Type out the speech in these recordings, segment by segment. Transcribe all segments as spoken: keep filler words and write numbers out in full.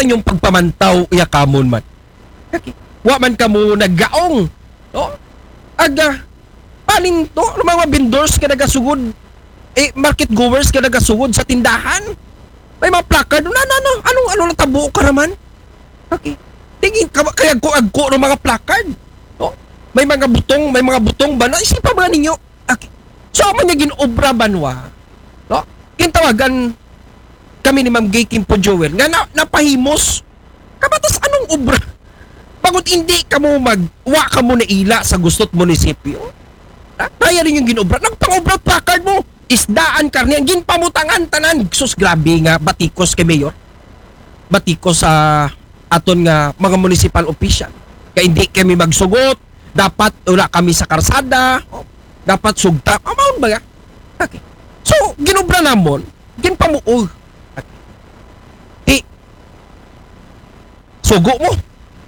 ta inyong pagpamantaw, iya kamon man. Okay. Wa man kamo naggaong. No? Aga, paninto, mga vendors nga nagasugod, eh, market goers nga nagasugod sa tindahan. May mga placard, na, na, na, anong, ano natabo ka naman? Okay. Tingin ka, kaya ko agko ng mga placard. No? May mga butong, may mga butong ba? Naisipan ba ninyo? Okay. So, amo niya ginobra banwa. No? Kintawagan kami ni Ma'am Gay Kimpo Joel nga na, napahimos. Kabatas anong obra? Pagod hindi ka mo mag, wa ka mo naila sa gusto't munisipyo. Ha? Kaya rin yung ginobra. Nagpangobra placard mo. Isdaan karne. Ang ginpamutangan tanan. Sus, grabe nga. Batikos kay Mayor. Batikos sa aton nga mga municipal official. Kaya hindi kami magsugot. Dapat wala kami sa karsada. Dapat sugta. Amaon ba nga? Okay. So, ginobra namon. Ginpamuog. Okay. Di, sugo mo.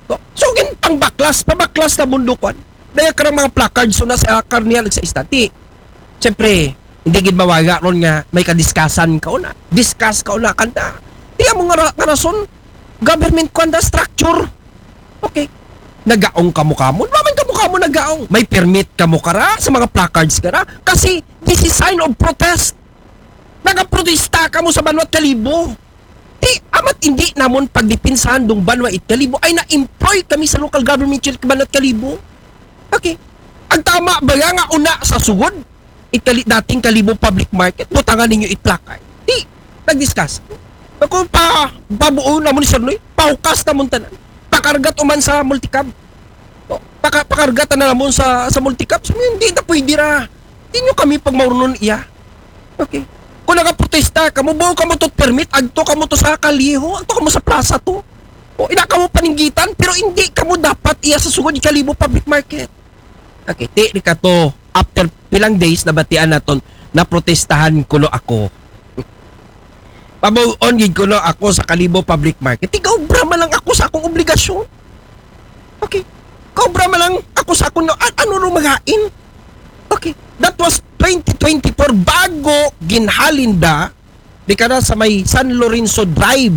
So, so ginpangbaklas, pabaklas na mundo kwan. Daya ka ng mga placards so na sa karniyan sa istati. Siyempre, hindi gid mawaga ron nga may kadiskasan ka una. Discuss ka una kanda. Di mo nga, ra- nga rason, government kwan da structure. Okay. Nagaong kamo kamo. Wa man kamo kamo nagaong. May permit kamo kara sa mga placards kara. Kasi, this is sign of protest. Nagaprotesta kamo sa banwat kalibo. Ti, amat hindi namon pagdipinsahan dong banwa it kalibo ay na-employ kami sa local government unit banat kalibo. Okay. Ang tama ba nga una sa sugod? Ikali, dating kalibo public market, butangan ninyo it placard. Ti, nag-discuss. Ako pa, pabuo namon ni Sir Noy, pahukas namon tanan. Pakargat uman sa multicab. O, paka, pakargat na namon sa, sa multicab. So, hindi na pwede ra. Di nyo kami pagmaurunon iya. Okay. Kung nagaprotesta kamo, buo kamo to permit, agto kamo to sa kaliho, agto kamo sa plaza to. O, ina kamo paninggitan, pero hindi kamo dapat iya sa sugod kalibo public market. Okay, ti, di ka to, after pilang days, nabatian naton, naprotestahan kuno ako. Pabuon gid kuno ako sa kalibo public market. Tigaobra man lang ako sa akong obligasyon. Okay. Kaobra man lang ako sa akong, an- ano ro magain? Okay. That was twenty twenty-four bago ginhalin da di ka na sa may San Lorenzo Drive,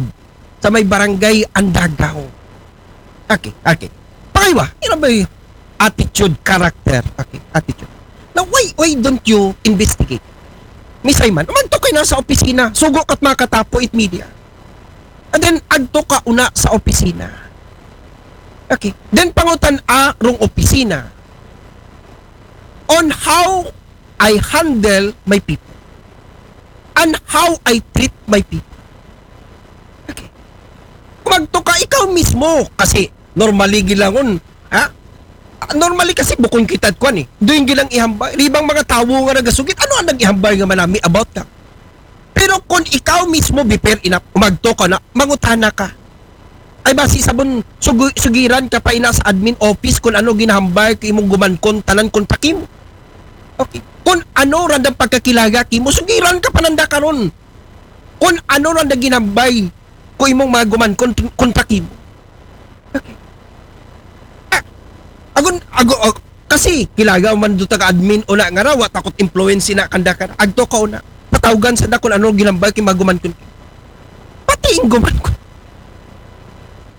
sa may barangay Andagaw. Okay, okay. Pakaiwa, ina ba yung attitude, character? Okay, attitude. Now, why, why don't you investigate? Misay man, umadto kayo na sa opisina, sugo ka't makatapo it media. And then, agto ka una sa opisina. Okay. Then, pangutan a rong opisina on how I handle my people and how I treat my people. Okay. Magto ka ikaw mismo kasi normally gilangon, ha? Normally kasi bukon kita kwan eh. Doon gilang ihambay. Ribang mga tawo nga nagasugit, ano ang nag-ihambay nga manami about ka? Pero kung ikaw mismo, be fair enough, umagto ka na, mangutana ka. Ay basi sabon, sugu- sugiran ka pa ina sa admin office kung ano ginahambay kay imong gumankon tanan kung takim. Okay. Kung ano randang pagkakilaga kimo, sugiran ka pananda karon. Kung ano randang ginambay ko imong mga gumankon kung takim. Okay. Ah, agon, ago, oh, kasi kilaga man do taga admin una nga raw, wa takot influence na kanda ka. Agto ka una. Patawgan sa da kung ano ginambay kay mga gumankon. Pati ing gumankon.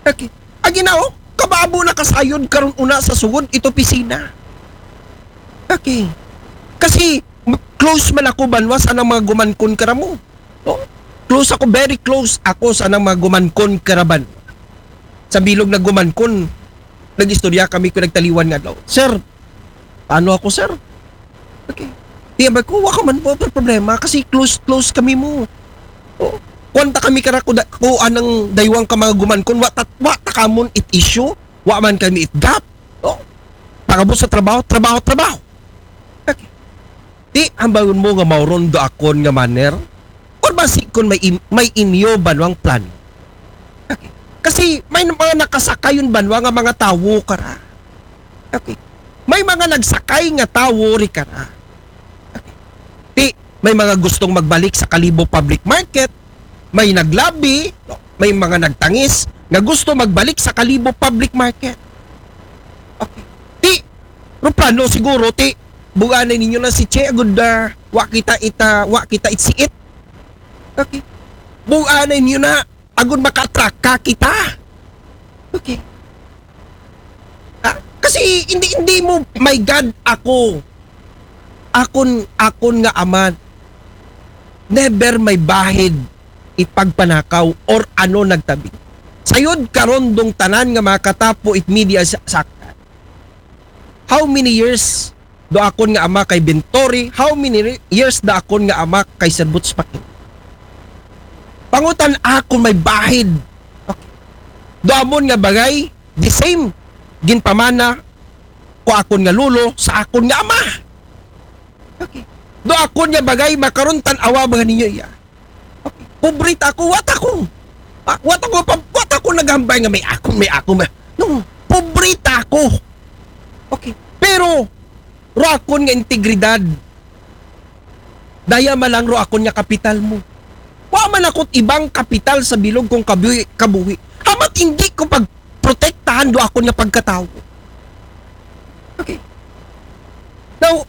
Okay. Agi na oh, kababo na kasayod karon una sa sugod ito pisina. Okay. Kasi m- close man ako banwa sa nang mga gumankon karamo. No? Close ako, very close ako sa nang mga gumankon karaban. Sa bilog na gumankon, nag-istorya kami ko nagtaliwan nga daw. Sir, paano ako, sir? Okay. Di ba ko, wa ka man po problema kasi close, close kami mo. Oh. Kwanta kami kara ko, da, ko anang daywang ka mga gumankon, wa, ta, wa ta kamon it issue, wa man kami it gap. Oh. Pagabot sa trabaho, trabaho, trabaho. Okay. Di, hambayon mo nga mauron do akon nga manner? Or basi kon may, im- may inyo banwang plan? Okay. Kasi may mga nakasakayon banwa nga mga tawo kara. Okay. May mga nagsakay nga tawo ri kara. Okay. Di, may mga gustong magbalik sa Kalibo Public Market, may naglabi, no? May mga nagtangis nga gusto magbalik sa Kalibo Public Market. Okay. Di, ruplano siguro, ti, buganay ninyo na si Che, agud, ah, wa kita ita, wa kita itsiit. Okay. Buganay ninyo na, agud maka-attract nagpataka kita. Okay. Ah, kasi hindi, hindi mo, my God, ako. Akon, akon nga ama, never may bahid ipagpanakaw or ano nagtabi. Sayod karon dong tanan nga makatapo it media sa, sa how many years do akon nga ama kay Bentori? How many re- years da akon nga ama kay Sir Boots Pakin? Pangutan akon may bahid. Okay. Do amon nga bagay, the same. Ginpamana ko akon nga lolo sa akon nga ama. Okay. Do akon nga bagay, makaron tan-awa ba ninyo iya? Okay. Pobre ta ako, wa ta ko. Ah, wa ta ko, pa, wa ta ko naghambay nga may ako, may ako, may... No, pobre ta ako. Okay. Pero, ro akon nga integridad. Daya man lang ro akon nga kapital mo. Wa man ako't ibang kapital sa bilog kong kabuhi, kabuhi. Hamat hindi ko pagprotektahan do akon nga pagkatawo. Okay. Now,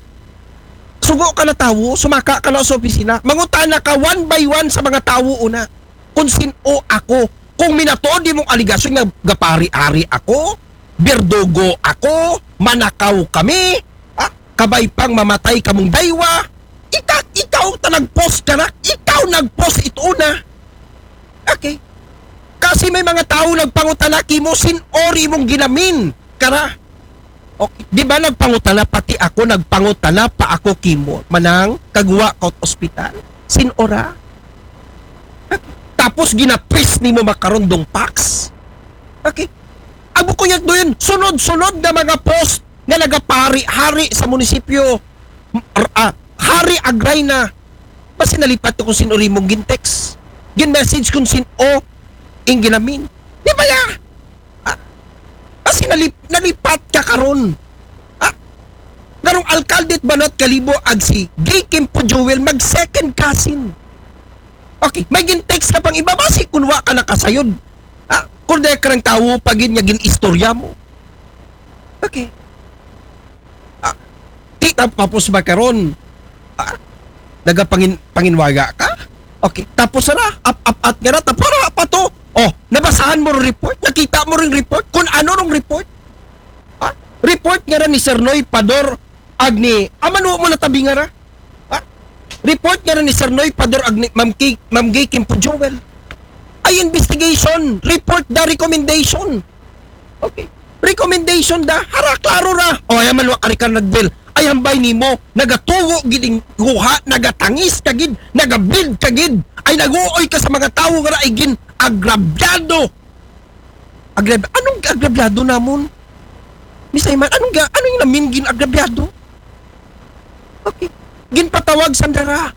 sugo ka na tawo, sumaka ka na sa opisina, mangutana ka one by one sa mga tawo una kung sin-o ako. Kung minatuod imong aligasyon nga gapari-ari ako, berdugo ako, manakaw kami, ah, kabay pang mamatay kamong daywa, ika, ikaw ta nag-post ka na, ikaw nag-post ito una. Okay. Kasi may mga tao nagpangutana kimo sin-o ri imong ginamin. Kara. Okay. Di ba nagpangutana pati ako, nagpangutana pa ako kimo. Manang, kagwa ka ospital. Sin-o ra. Tapos ginatwist nimo makaron dong facts. Okay. Abo ko yan doon, sunod-sunod na mga post nga nagapari-hari sa munisipyo. R- ah, hari agray na. Basi nalipat ko kung sin-o ri mong gintext. Gin-message kung sin-o ing ginamin. Di ba ya? Ah, kasi nalip, nalipat ka karon. Ah, garong alkalde it Banwat Kalibo ag si Gay Kimpo Joel mag second cousin. Okay, may gin-text ka pang iba, basi kung wa ka nakasayod. Ah, kung dahil ka ng tawo, pagin niya gin-istorya mo. Okay. Ah, di tapos ba karon? Ah, nagapangin panginwaga ka? Okay. Tapos na, ap ap at nga na, tapos na pa to. Oh, nabasahan mo rin report? Nakita mo rin report? Kung ano nung report? Ah, report nga na ni Sir Noy Pador Agni, amano mo natabi nga ra? Ah, report nga ra ni Sir Noy Pador Agni, Ma'am Ki, Ma'am Gay Kimpo Joel. Ay investigation, report da recommendation. Okay. Recommendation da, hara, klaro ra. O, ay man wa ka rin ka nagbil. Ay hambay nimo, nagatugo gid ing guha, nagatangis ka gid, nagabid ka gid. Ay naguoy ka sa mga tawo nga ra, ay gin agrabyado. Agrab anong agrabyado namon? Mister Iman, anong ga anong namin gin agrabyado? Okay. Ginpatawag sandara.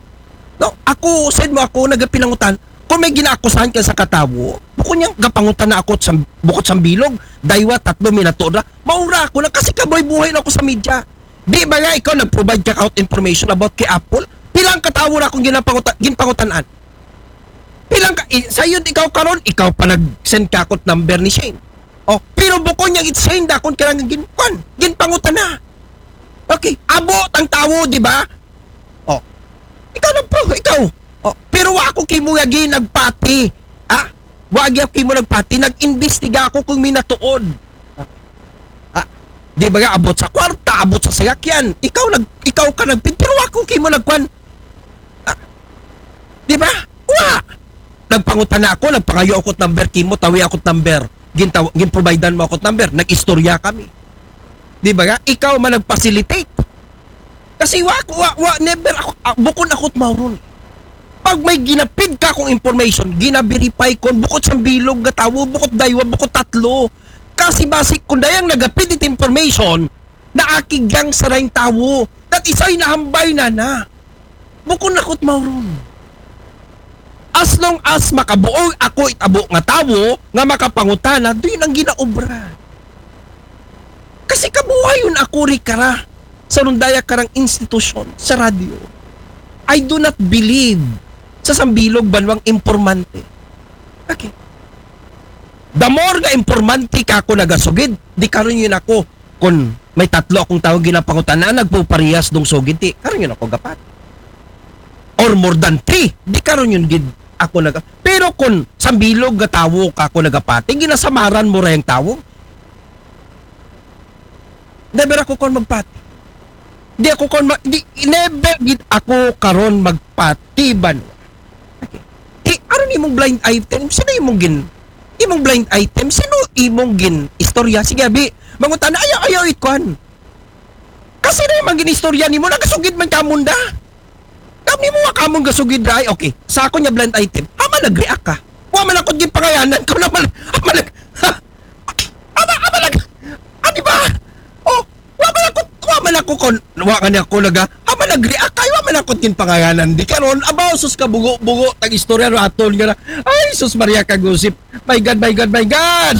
No, ako, said mo ako, nagapinangutan. Kung may ginaakusahan ka sa katawo, bukod niyang gapangutan na ako sa, bukod sa bilog, daywa, tatlo, minatuod ra. Maura ako na kasi kaboy buhay na ako sa media. Di ba nga ikaw nag-provide ka out information about kay Apple? Pilang katawo na akong ginapangutan, ginpangutan-an? Pilang ka, i, sayod ikaw karon, ikaw pa nag-send ka akot number ni Shane. Oh, pero bukod niyang it's Shane, dakon ka lang gin, kwan, ginpangutan na. Okay, abo tang tawo, di ba? Oh, ikaw na po, ikaw. Oh, pero wa ako kimo nga ginagpati. Ah, wa gyud kimo nagpati, nag-imbestiga ako kung minatuod. Ah, di ba nga abot sa kwarta, abot sa sayakyan? Ikaw nag ikaw ka nagpin, pero wa ko kimo nagkwan. Ah, di ba? Wa. Nagpangutana ako, nagpangayo ako number kimo, tawi ako number. Gintaw, ginprovidean mo ako number, nag-istorya kami. Di ba nga? Ikaw man nag-facilitate. Kasi wa, wa, wa, never ako, ah, bukod ako't mauron. Pag may ginapid ka kong information, ginaverify ko, bukod sa bilog nga tawo, bukod daywa, bukod tatlo. Kasi basi kung dayang nagapid it information, naakigang sa dayang tawo, that isay nahambay na na. Bukod ako't mauron. As long as makabuoy ako it abo nga tawo nga makapangutana, doon ang ginaobra. Kasi kabuhayon ako ri kara sa rundaya karang institusyon sa radyo. I do not believe sa sambilog banwang impormante. Okay. The more nga impormante ka ako nagasugid, di karon yun ako kung may tatlo akong tawo ginapangutan na nagpuparehas dong sugid, di karon yun ako gapat. Or more than three, di karon yun gid ako naga. Pero kun sambilog nga tawo ka, kun nagapati, ginasamaran mo ra ang tawo. Never ako kon magpati. Di ako kon ma-, di, never gid ako karon magpati, Banwa. Okay. Di, ano ni imong blind item? Sino imong gin-, imong blind item? Sino imong gin istorya? Sige, abi, mangutana, ayaw, ayaw, ikuan. Kasi na yung gin istorya nimo, nagasugid man ka munda. Kami mo nga kamong gasugid ra, ay, okay. Sa ako niya blind item, hama nag-react ka. Wa man ako gin pangayanan ko naman. Hama nag-, ha? Hama, hama nag-, ah, di ba? Oh, wa man ako, wa man ako kon, wa nga niya ko naga, hama nag-react kay wa man ako gin pangayanan. Di karon, abaw, sus ka bugo-bugo, tag istorya raton nga na. Ay, sus Maria Kagusip. My God, my God, my God!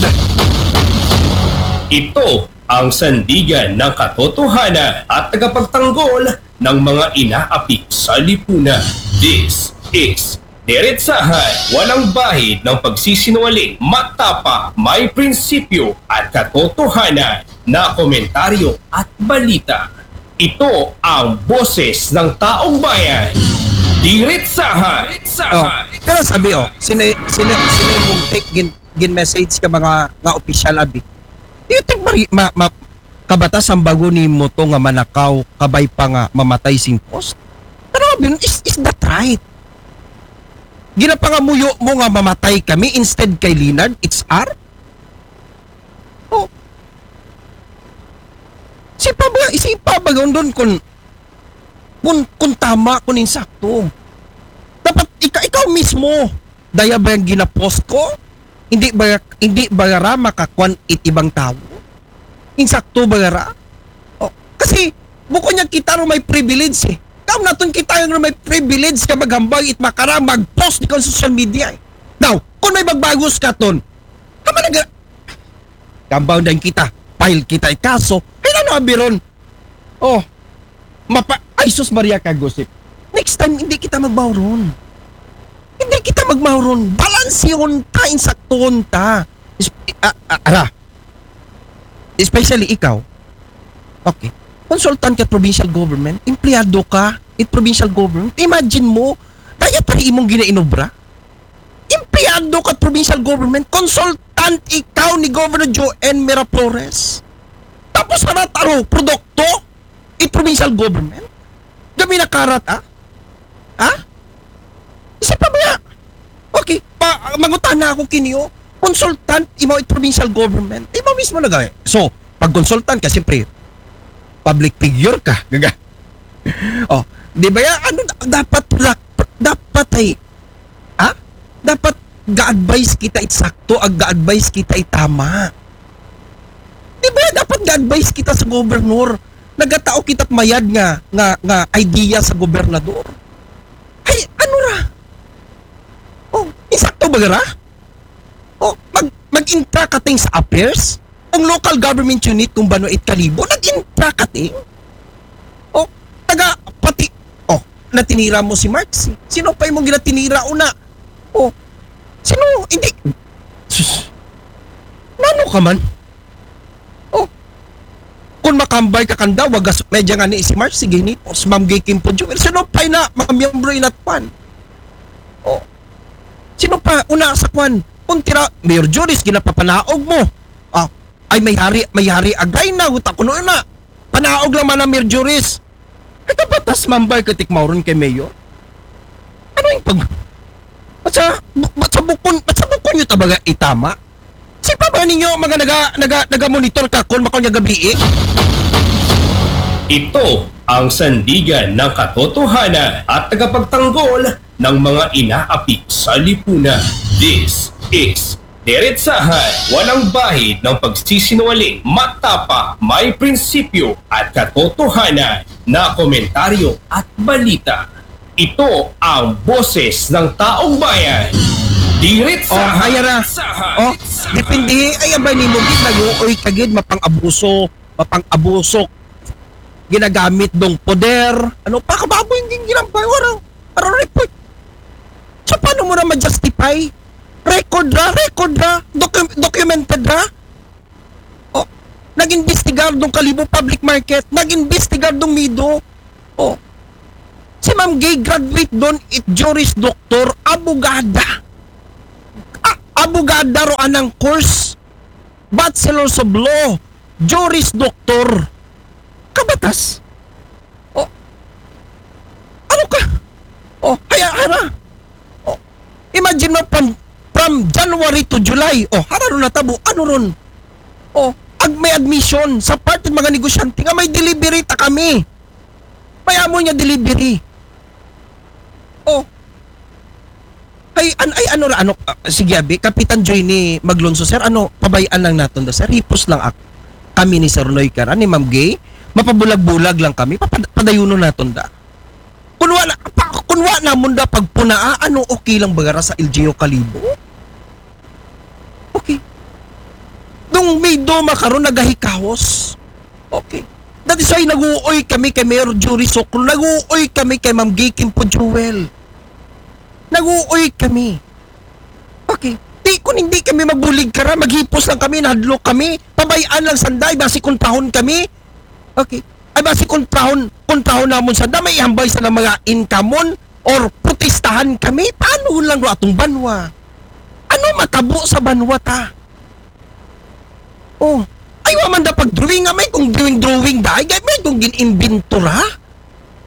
Ito ang sandigan ng katotohanan at tagapagtanggol ng mga inaapi sa lipunan. This is Diretsahan, walang bahid ng pagsisinungaling, matapang, may prinsipyo at katotohanan na komentaryo at balita. Ito ang boses ng taong bayan. Diretsahan. Oh, pero sabi, oh, sino, sino, sino yung take gin, gin message ka mga nga official, abi? Do you think mari, ma, ma, kabatas ang bago ni mo to nga manakaw, kabay pa nga mamatay sing post? Pero abi, is, is that right? Ginapangamuyo mo nga mamatay kami instead kay Leonard H R? Oh. Sipa ba, isipa ba yun doon kung, kung, kung tama, kung insakto? Dapat ika, ikaw mismo, daya ba yung ginapost ko? Hindi ba, hindi ba ra makakuan it ibang tao? Insakto ba ra? Oh, kasi, bukod niya kita ro may privilege eh. Kaam naton kita yung may privilege ka maghambang it makara mag-post di ka sa social media eh. Now, kung may magbagos ka ton, kama nag-, kambang din kita, file kita ikaso, kailan na biron? Oh, mapa, ay sus Maria Kagusip. Next time, hindi kita magbawron. Hindi kita magbawron. Balansihon ta, insaktuhon ta. Is, ah, ah, ara. Especially ikaw. Okay. Consultant ka provincial government, empleyado ka it provincial government. Imagine mo, kaya pa imong ginainobra? Empleyado ka provincial government, consultant ikaw ni Governor Joel Miraflores. Tapos ano taro, produkto? It provincial government? Gabi na karat, ah? Ha? Isa pa ba? Okay, pa, mangutana ako kiniyo. Consultant, imo it provincial government. Imo mismo nag-, so, pag consultant ka, siyempre, public figure ka. Gaga. Oh, di ba yan? Ano, dapat, dapat ay, ha? Dapat ga-advise kita it sakto, ag ga-advise kita it tama. Di ba dapat ga-advise kita sa governor? Nagatao kita mayad nga, nga, nga idea sa gobernador. Ay, ano ra? Oh, insakto ba ra? Oh, mag, mag-intra ka ting sa affairs? Kung local government unit, kung bano it kalibo, nag-intra ka ting? Oh, taga, pati, oh, natinira mo si Mark. Si-, sino pa imong ginatinira una? Oh, sino? Hindi. Sus. Nano ka man? Oh, kung makambay ka kanda, wagas, medya nga ni si Mark, sige ni, si Ma'am Gay Kim po, Jewel. Sino pa na, mga miyembro inatpan? Oh, sino pa? Una sa kwan, kung tira, Mayor Juris, ginapapanaog mo. Ah, ay may hari, may hari, agay na, utak ko noon na. Panaog lang man ang Mayor Juris. Ito batas mambay ka tikmauron kay Mayor? Ano yung pag... Ba't sa, ba't sa bukon, ba't sa bukon nyo tabaga itama? Si pa ba ninyo mga naga, naga, naga-monitor ka kung makaw niya gabi eh? Ito ang sandigan ng katotohanan at tagapagtanggol ng mga inaapi sa lipunan. This is Diretsahan, walang bahid ng pagsisinungaling, matapang, may prinsipyo at katotohanan na komentaryo at balita. Ito ang boses ng taong bayan. Diretsahan. Oh, ayan na. Oh, depende. Ay, abay ni mo, gid, nag-uoy ka, gid, mapang-abuso, mapang-abuso. Ginagamit dong poder. Ano pa, kababoy yung ginampay, wala. Para report. So, paano mo na ma-justify? Record ra, record ra, docu-, documented ra. Oh, nag-imbestigar dong Kalibo Public Market, nag-imbestigar dong Mido. Oh, si Ma'am Gay graduate doon, it Juris Doctor, abogada. Abogada ro anang course. Bachelors of Law. Juris Doctor. Kabatas. Oh. Ano ka? Oh, haya, hara. Oh. Imagine mo, from, from January to July. Oh, hara ron natabo. Ano ron? Oh, ag may admission sa parte ng mga negosyante nga may delivery ta kami. May amo niya delivery. Oh. Ay, an-, ay, ano ra, ano, ah, sige, abi, Kapitan Joy ni Maglonso, sir, ano, pabay-an lang naton da, sir. Hipos lang ak-, kami ni Sir Noy Cara, ni Ma'am Gay. Mapabulag-bulag lang kami. Papad-, padayunon naton da. Kunwa na, pa, kunwa namon da pagpunaa, ano, okay lang ba gara sa L G U Kalibo? Okay. Nung may doma karon nagahikahos. Okay. That is why naguoy kami kay Mayor Jury Sokol, naguoy kami kay Ma'am Gay Kimpo Jewel. Naguoy kami. Okay. Di, kung hindi kami magbulig kara, maghipos lang kami, nahadlok kami, pabay-an lang sanda, ay basi kontrahon kami. Okay. Ay basi kontrahon, kontrahon namon sanda, may ihambay sa mga income-on or protestahan kami. Paano lang ro atong banwa? Ano matabo sa banwa ta? Oh, ay wa man da pag-drawing nga may kung drawing-drawing da, ay may kung gin-imbento ra.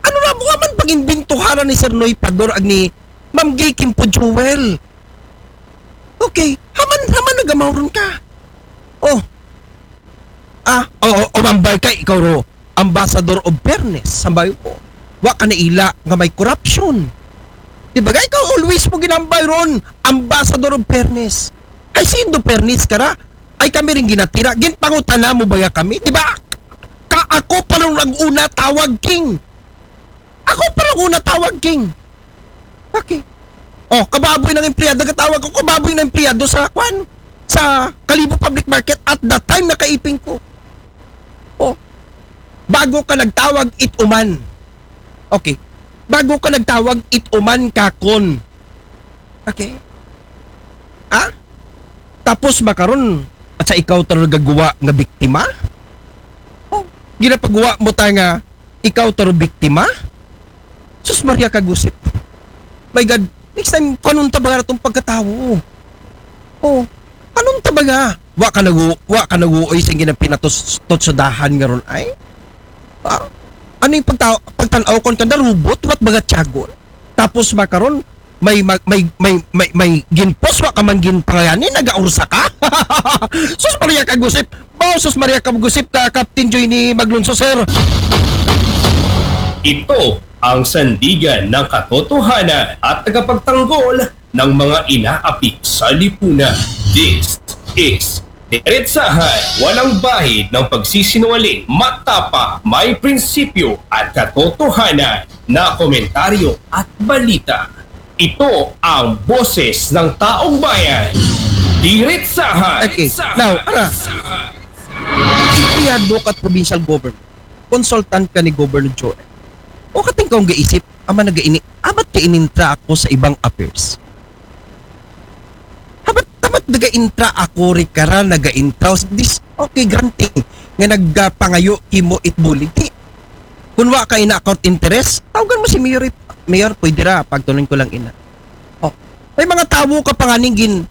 Ano ra, wa man pag-imbento ra ni Sir Noy Pador ag ni Ma'am Gay Kimpo Jewel. Okay, haman, haman nagamaw ron ka. Oh. Ah, oo, umambay ka, ikaw ro, ambassador of fairness, sambay ko. Wa ka naila nga may corruption. Di ba? Ikaw always mo ginambay ron, ambassador of fairness. Ay, sindo fairness ka ra? Ay, kami rin ginatira. Ginpangutana mo ba ya kami? Di ba? Ka ako pa lang ang una tawag, King. Ako pa lang una tawag, King. Okay. Oh, kababoy ng empleyado, katawag ko, kababoy ng empleyado sa, kwan, sa Kalibo Public Market at that time, nakaiping ko. Oh, bago ka nagtawag, it uman. Okay. Bago ka nagtawag, it uman kakon. Okay. Ah? Tapos makaron, at sa ikaw talaga guwa nga biktima? Oh, ginapagawa mo ta nga ikaw taro biktima? Sus Maria Kagusip. My God, next time, kanunta ba nga itong pagkatawo? Oh, kanunta ba nga? Wa ka nagu-, wa ka naguoy sa ginapinatos-, tot sa dahan nga ron ay? Ah, ano yung pagta-, pagtanaw kon kanda robot, wat baga tiyagon? Tapos makaron, may, may, may, may, may, may ginpos, wa ka man ginpangayani, nagaursa ka? Sus Maria Kagusip, Bao, sus Maria Kagusip ka, Captain Joy ni Maglunso, sir. Ito ang sandigan ng katotohanan at tagapagtanggol ng mga inaapik sa lipunan. This is Diretsahan, walang bahid ng pagsisinungaling, matapa, may prinsipyo at katotohanan na komentaryo at balita. Ito ang boses ng taong bayan. Diretsahan. Okay, now, ara. Empleyado ka at provincial government. Consultant ka ni Governor Joel. O kating kaong gaisip, ama nagaini, abat ka inintra ako sa ibang affairs. Habat, habat naga-intra ako, ri kara naga-intra. This, okay, granting. Nga nagpangayo kimo it bulig. Di, kung wa ka ina account interest, tawagan mo si Mayor. Mayor, pwede ra, pagtunan ko lang ina. Oh, may mga tawo ka pa nga ning gin-,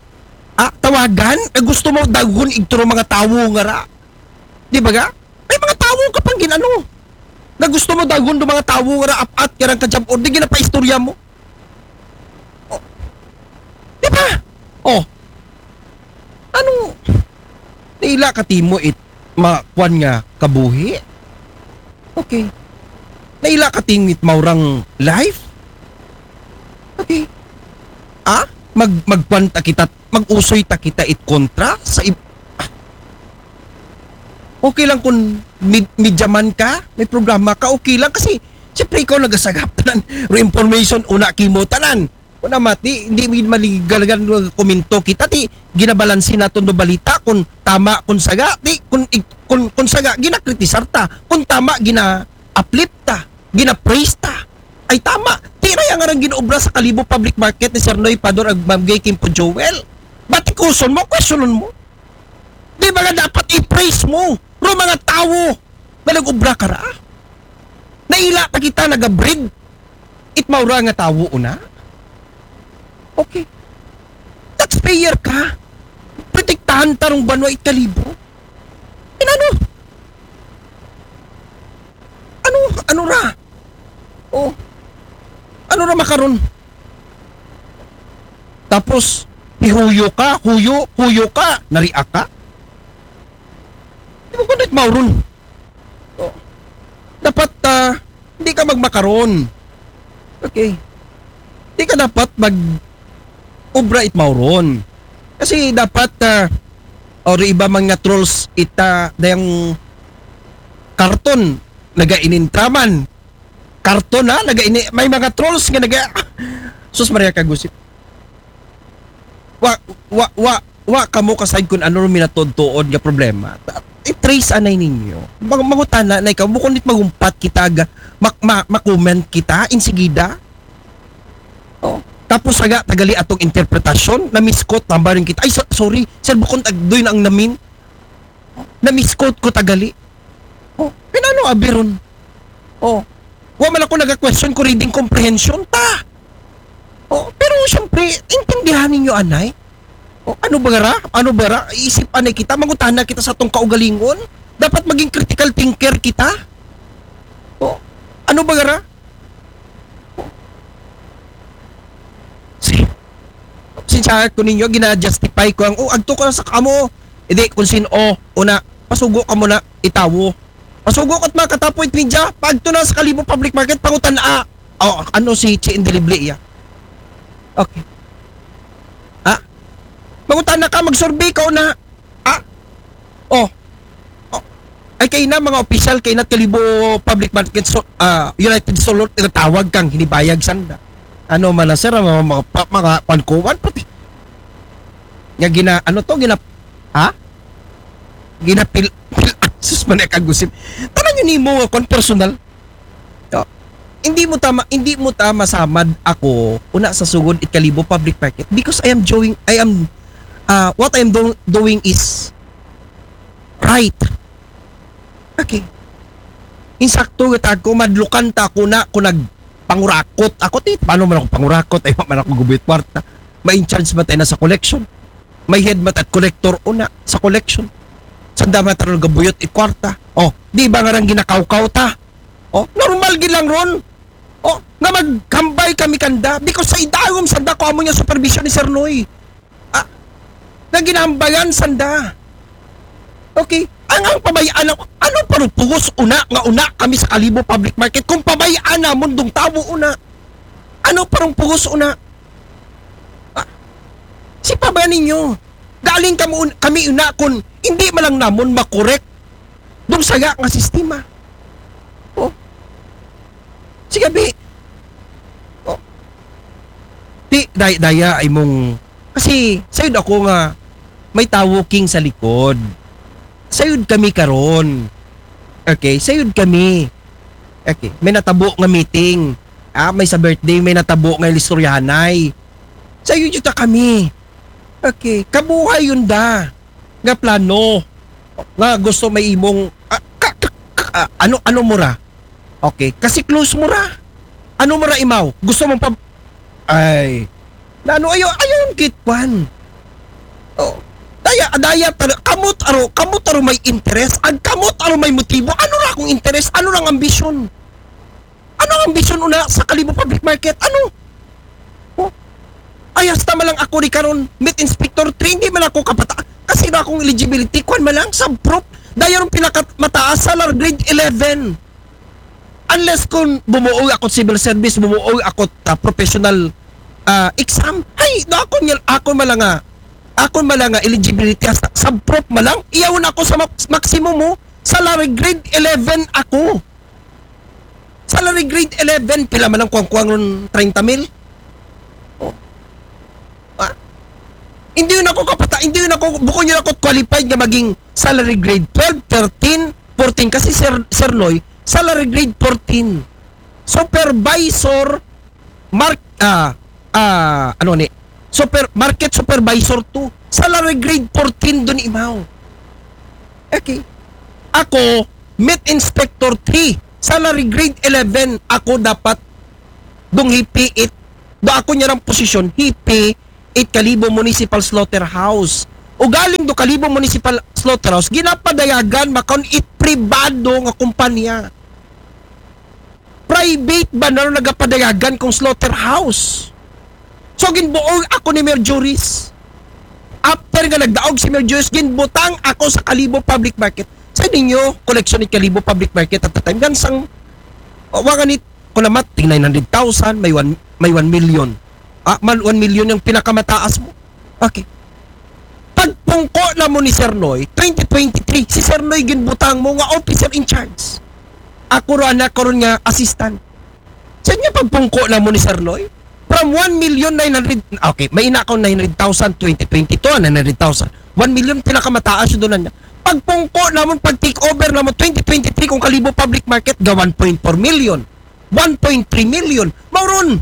ah, tawagan? Eh, gusto mo dagon igturo mga tawo nga ra? Di ba ga? May mga tawo ka pang ginano. Na gusto mo dagon do mga tawo nga ra apat karang ka job order, ginapaistorya mo. Oh. Di ba? Oh. Ano? Naila ka timo it makuan nga kabuhi? Okay. Naila ka timo it maurang life? Okay. Ah? Mag-, magkuan ta kita, mag-usoy ta kita it kontra sa ib-, ah. Okay lang kung mid-, media man ka, may programa ka, okay lang kasi siyempre ikaw nagasagap tanan. Ro information, una kimo tanan. Una mati, hindi mo maligalagan ng komento kita, ti ginabalansi naton do balita kung tama, kung saga, ti kung, kung, kung saga, ginakritisar ta, kung tama, gina-uplift ta, gina-praise ta. Ay tama, ti ra yang arang ginaobra sa Kalibo Public Market ni Sir Noy Pador ag Ma'am Gay Kimpo Joel. Batikuson mo, questionon mo. Di ba nga dapat i-praise mo ro mga tawo nga nag-obra kara? Naila pa kita nagabrid it maura nga tawo una? Okay. That's taxpayer ka. Protektahan ta rong banwa it kalibo. Inano? Ano, ano ra? Oh. Ano ra makaron? Tapos, hihuyo ka, huyo, huyo ka, naria ka. Di mo kunit mauron. Oh. Dapat, ah, hindi ka magmakaron. Okay. Di ka dapat mag obra it mauron. Kasi dapat, ah, or iba mga trolls ita dayang karton naga inintraman. Karton ha, naga ini, may mga trolls nga naga sus Maria kagusip. Wa wa wa wa kamo kasayod kung ano minatod-tuod nga problema. I-trace anay ninyo. Mag mangutana na ikaw, bukon dit magumpat kita ga mak ma, ma-comment kita insigida. Oh. Tapos saga tagali atong interpretasyon, na-misquote tambarin kita. Ay, so, sorry, sir, bukon tagdoy na ang namin. Na-misquote ko tagali. Oh, pinano abiron? Oh, wa man ako naga-question ko reading comprehension ta. Oh, pero siyempre, intindihan ninyo anay. Oh, ano ba ra? Ano ba ra? Isip anay kita, mangutana kita sa tong kaugalingon. Dapat maging critical thinker kita. Oh, ano ba ra? Si, sinsya ko ninyo, gina-justify ko ang, oh, agto ko na sa kamo. Hindi, kung sin-o, una, pasugo ka muna, itawo. Pasugo ka't makatapoy, Twinja, pagto na sa Kalibo Public Market, pangutan a. Oh, ano si Chi Indelibli iya? Okay. Ha? Mangutan na ka, mag-survey ka una. Ah? Oh. Oh. Ay, kay na, mga opisyal, kay na Kalibo Public Market, so, ah, United Solor, tinatawag kang hinibayag sanda. Ano man na, sir, mga, mga, pa- mga pankuwan, pati. Nga gina, ano to, gina, ha? Ginapil, pil, sus, man, kagusip. Tanang yun mo, kung personal. Oh. Hindi mo tama, hindi mo tama samad ako, una sa sugod it Kalibo Public Market, because I am doing, I am, uh, what I am do, doing is right. Okay. Insakto nga tag ko, madlukan ta ako na, kung nagpangurakot ako, ti, paano man ako pangurakot, ay man ako gubit kwarta. Ma-in-charge ba tayo na sa collection? May head mat at collector una sa collection. Sanda man tayo gabuyot it kwarta. Oh, di ba nga rang ginakawkaw ta? Oh, normal gid lang ron. Oh, nga maghambay kami kanda because sa idagom sanda ko amo niya supervision ni Sir Noy. Ah, nga ginambayan sanda. Okay? Ang ang pabayaan na, ano pa rin pugos una nga una kami sa Kalibo Public Market kung pabayaan namon dong tawo una? Ano pa rin pugos una? Ah, si pa ba ninyo? Galing kamo un- kami una kun hindi man lang namon makorek dong saya nga sistema. Oh. Sige, bi. Oh. Di, day, daya ay mong, kasi sayod ako nga may tawo king sa likod. Sayod kami karon. Okay, sayod kami. Okay, may natabo nga meeting. Ah, may sa birthday, may natabo nga istoryahanay. Sayod yuta kami. Okay, kabuhay yun da. Nga plano. Nga gusto may imong, ah, ka, ka, ka, ah, ano, ano mo ra? Okay, kasi close mo ra. Ano mo ra imaw? Gusto mong pab... Ay. Na ano, ayaw, ayaw ang kitwan. Oh. Daya, daya, tara, kamot aro, kamot aro may interest. Ang kamot aro may motibo. Ano ra akong interest? Ano ra ang ambisyon? Ano ang ambisyon una sa Kalibo Public Market? Ano? Oh. Ay, hasta man lang ako di karon, Met Inspector three, hindi man ako kapata. Kasi na akong eligibility, kwan man lang, sub-prof. Daya rong pinakamataas sa lar grade eleven. Unless kung bumuoy ako civil service, bumuoy ako ta professional ah, exam, ay, na ako niya, ako man lang nga, ako man lang nga eligibility hasta sub-prof man lang, iyawon ako sa max- maximum mo, salary grade eleven ako. Salary grade eleven, pila man lang kuwang-kuwang ron treinta mil? Oh. Ah, hindi yun ako kapata, hindi yun ako, bukon yun ako qualified nga maging salary grade twelve, thirteen, fourteen. Kasi Sir, Sir Noy, salary grade fourteen. Supervisor, mark, ah, ah, ano ni? Super, market supervisor two. Salary grade fourteen dun imaw. Okay. Ako, Met Inspector three. Salary grade eleven. Ako dapat dong hipi it. Do ako niya ng posisyon, hipi it Kalibo Municipal Slaughterhouse. Ugaling do Kalibo Municipal Slaughterhouse, ginapadayagan makaon it pribado nga kumpanya. Private ba na ron nagapadayagan kung slaughterhouse? So, ginbuol ako ni Mayor Juris. After nga nagdaog si Mayor Juris, ginbutang ako sa Kalibo Public Market. Sa ninyo, koleksyon ni Kalibo Public Market at the time, gansang, wa nga ni, kung namat, ting nine hundred thousand, may one, may one million. Ah, man, one million yung pinakamataas mo. Okay. Pagpungko na mo ni Sir Noy, twenty twenty-three, si Sir Noy ginbutang mo nga officer in charge. Ako ro anak ko ron nga assistant. Sa inyo pagpungko na mo ni Sir Noy, from one million nine hundred, okay, may ina ko nine hundred thousand, twenty twenty-two, nine hundred thousand. One million pinakamataas yung doon niya. Pagpungko na mo, pag take over na mo, twenty twenty-three kung Kalibo Public Market, ga one point four million, one point three million. Mauron,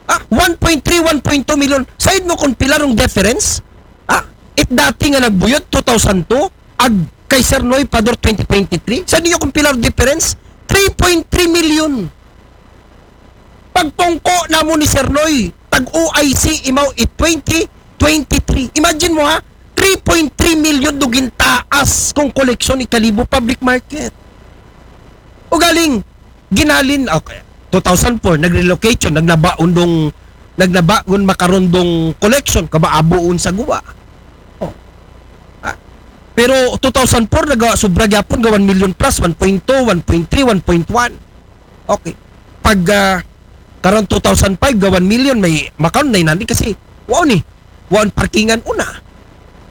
ah, one point three, one point two million. Said mo kung pila rong difference? Ah, it dati nga nagbuyot, two thousand two, ag kay Sir Noy Pador twenty twenty-three. Sa ninyo kung pila rong difference? three point three million. Pagpungko na mo ni Sir Noy, tag O I C imaw it twenty twenty-three. Imagine mo ha, three point three million do gintaas kung koleksyon ni Kalibo Public Market. O galing, ginhalin, okay, two thousand four, nag-relocation, nagnaba undong, nagnaba gun makarondong collection, kabaabuon sa guwa. Oh. Ah. Pero two thousand four, naga, sobra gyapon ga one million plus, one point two, one point three, one point one. Okay. Pag, ah, karon two thousand five, ga one million, may makaon nine hundred kasi, wow ni, wow ang parkingan una.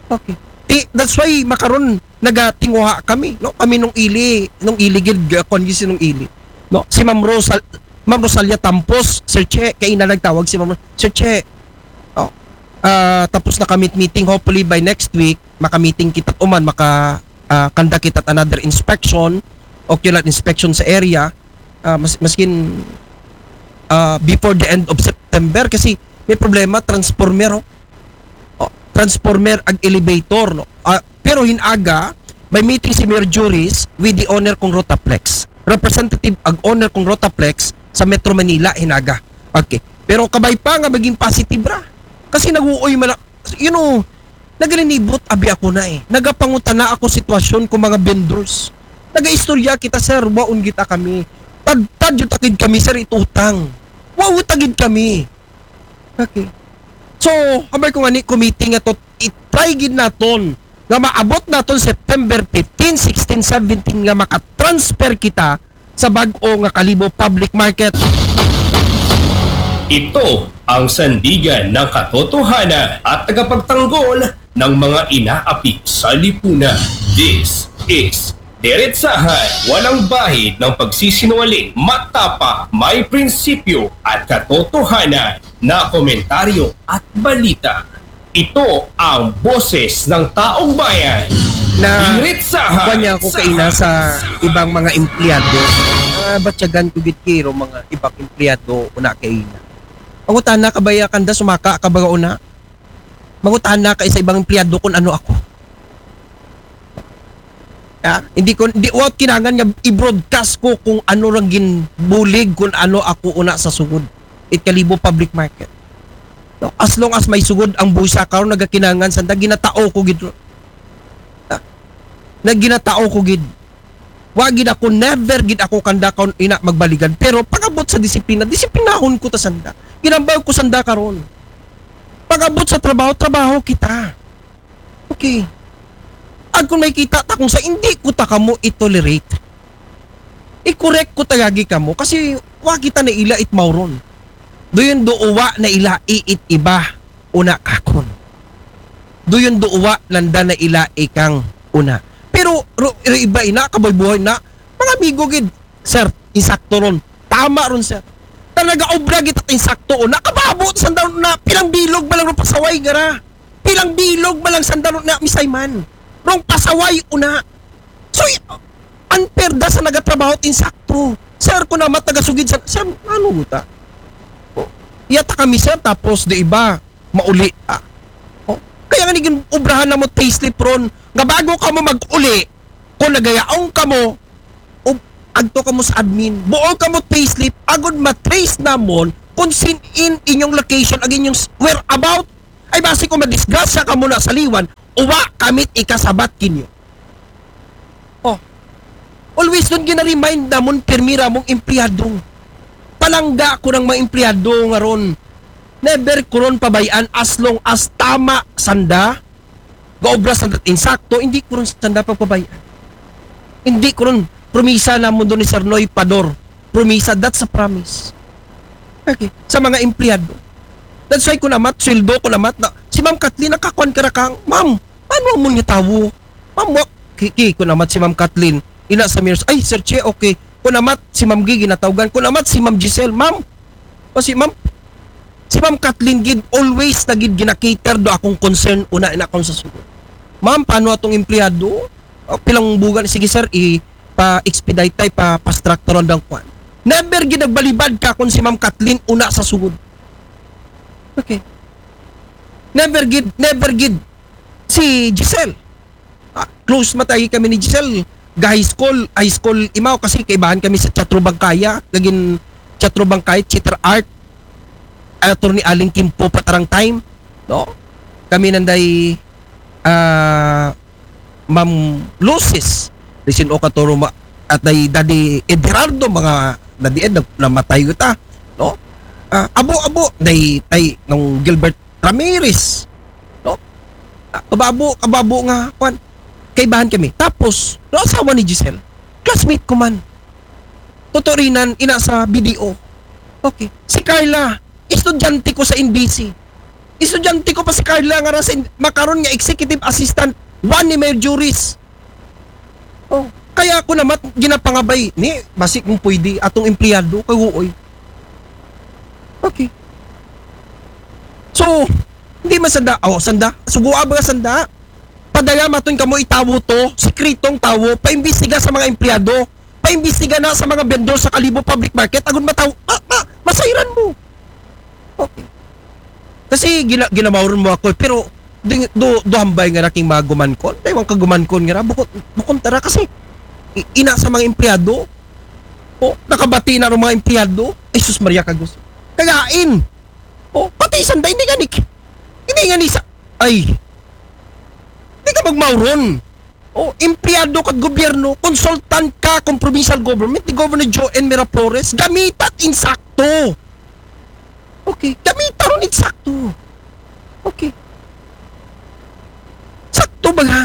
Okay. Ti, that's why makaron nagatinguha kami, no? Kami nung ili, nung ili gid, uh, kon si nung ili. No? Si Ma'am Rosal, Ma'am Rosalia Tampos, Sir Che, kay ina nagtawag si Ma'am Ro-, Sir Che. Oh. Ah, tapos na kami meeting, hopefully by next week maka-meeting kita uman, maka ah, conduct kita another inspection, ocular inspection sa area, ah, mas, maskin ah, before the end of September kasi may problema transformer, oh. Oh, transformer ag elevator, no. Ah, pero hinaga may meeting si Mayor Juris with the owner kong Rotaplex. Representative ag owner kong Rotaplex sa Metro Manila hinaga. Okay. Pero kabay pa nga maging positive ra. Kasi naguoy man na, you know, nagalinibot abi ako na eh. Nagapangutana ako sitwasyon ko mga vendors. Nagaistorya kita, sir, waon kita kami. Tad, tad yung takid kami, sir, itutang. Wow, tagid kami. Okay. So, hamay ko nga ni committee nga to, i-try gid naton nga maabot naton September fifteen, sixteen, seventeen nga makatransfer kita sa bag-o nga Kalibo Public Market. Ito ang sandigan ng katotohanan at tagapagtanggol ng mga inaapi sa lipunan. This is Diretsahan, walang bahid ng pagsisinungaling, matapa, may prinsipyo at katotohanan na komentaryo at balita. Ito ang boses ng taong bayan. Na kuan niya ako kaina sa ibang mga empleyado. Uh, batyagan ko gid kiro mga ibang empleyado una kaina. Ang utana kabaya kanda sumaka kabaga una. Mangutana ka sa ibang empleyado kung ano ako. Ha? Hindi ko, hindi, wa kinangan nga i-broadcast ko kung ano rang ginbulig, kung ano ako una sa sugod. It Kalibo Public Market. No? As long as may sugod ang busa karon nagakinangan sanda, ginatao ko gid. Ha? Naginatao ko gid. Wa gid ako, never gid ako kanda kaon ina magbaligan. Pero pag-abot sa disiplina, disiplinahon ko ta sanda. Ginambag ko sanda karon. Pag-abot sa trabaho, trabaho kita. Okay. Ag kung may kita ta kung sa hindi ko ta kamo i-tolerate, i-correct ko tagagi kamo kasi wa kita na ila it mauron. Doon do uwa na ila iit iba una kakon. Doon do uwa nanda na ila ikang una. Pero ro, ro iba ina, kaboy buhay na, mga amigo gid, sir, insakto ron. Tama ron, sir. Talaga obra gid at insakto o nakababo sanda na pilang bilog ba lang ron pasaway gara. Pilang bilog ba lang sanda ron na misay man. Rong pasaway una. So, unfair da sa nagatrabaho at insakto. Sir, kung namat nagasugid sa, sir, ano guta? Oh, iyata kami, sir, tapos di iba, mauli. Ah. Oh. Kaya nga niging obrahan na mo payslip ron, nga bago ka mo mag-uli, kung nagayaong ka mo, ub-, agto ka mo sa admin, buol ka mo payslip, agod matrace namon, kung saan in inyong location, ag inyong s- whereabout. Ay basi kung madisgrasya kamo na sa liwan, uwa kamit ikasabat kinyo. Oh. Always don gina-remind namon pirmi ra mong empleyado. Palangga ko rang mga empleyado nga ron. Never ko ron pabayaan as long as tama sanda. Gaobra sanda insakto, hindi ko ron sanda pagpabayaan. Hindi ko ron promisa namon don ni Sir Noy Pador. Promisa, that's a promise. Okay, sa mga empleyado. That's why ko namat, sweldo ko namat na, si Ma'am Kathleen nakakuan ka ra kang, "Ma'am, ano mo niya tawo? Ma'am, wa-," ki, ki ko namat si Ma'am Kathleen. Ina sa Mirs, "Ay, Sir Che, okay." Ko namat si Ma'am Gigi natawgan. Ko namat si Ma'am Giselle, "Ma'am, o si Ma'am, si Ma'am Kathleen gid, always na gid gina-cater do akong concern una ina akong sa sulod. Ma'am, paano atong empleyado? O, pilang bugan, sige sir, i pa-expedite tay, pa fast track taron dang kwan." Never gid nagbalibad ka kung si Ma'am Kathleen una sa sugod. Okay. Never gid, never gid. Si Giselle. Ah, close matay kami ni Giselle. Ga high school, high school imaw kasi kaibahan kami sa Teatro Bangkaya. Naging Teatro Bangkaya, theater art. Attorney Aling Kimpo patarang time. No? Kami nanday ah, Ma'am Lucis, Lisin Okatoro ma-, at day Daddy Ederardo, mga Daddy Ed, nag-, namatay ko ta, no? Ah, abo, abo, day, tay, nung Gilbert Ramirez, no? Ah, kababo, kababo nga, kwan, kaibahan kami. Tapos, no, asawa ni Giselle, classmate ko man. Tutorinan, ina sa B D O. Okay. Si Carla, estudyante ko sa N B C. Estudyante ko pa si Carla nga ra sa N-, makaron nga executive assistant, one ni Mayor Juris. Oh, kaya ako namat ginapangabay ni, basi kung pwede, atong empleyado, kay uoy. Okay. So, hindi man sanda, oh, sanda, sugua ba nga sanda? Padala maton kamo itawo to, sikretong tawo, paimbestiga sa mga empleyado, paimbestiga na sa mga vendor sa Kalibo Public Market, agud mataw, ma, ma, masayran mo. Okay. Kasi gina, ginamawron mo ako, pero di, do, do hambay nga raking mga gumankon, taywang kagumankon nga ra, bukon, bukon tara kasi i-, ina sa mga empleyado, o, nakabati na ng mga empleyado, ay sus Maria Kagos. Kagain! O, pati isang day, hindi nga ni, hindi nga ni sa, ay, hindi ka magmawron. O, empleyado ka gobyerno, consultant ka kung provincial government ni Governor Joe N. Miraflores, gamita insakto. Okay, gamita ron insakto. Okay. Sakto ba nga?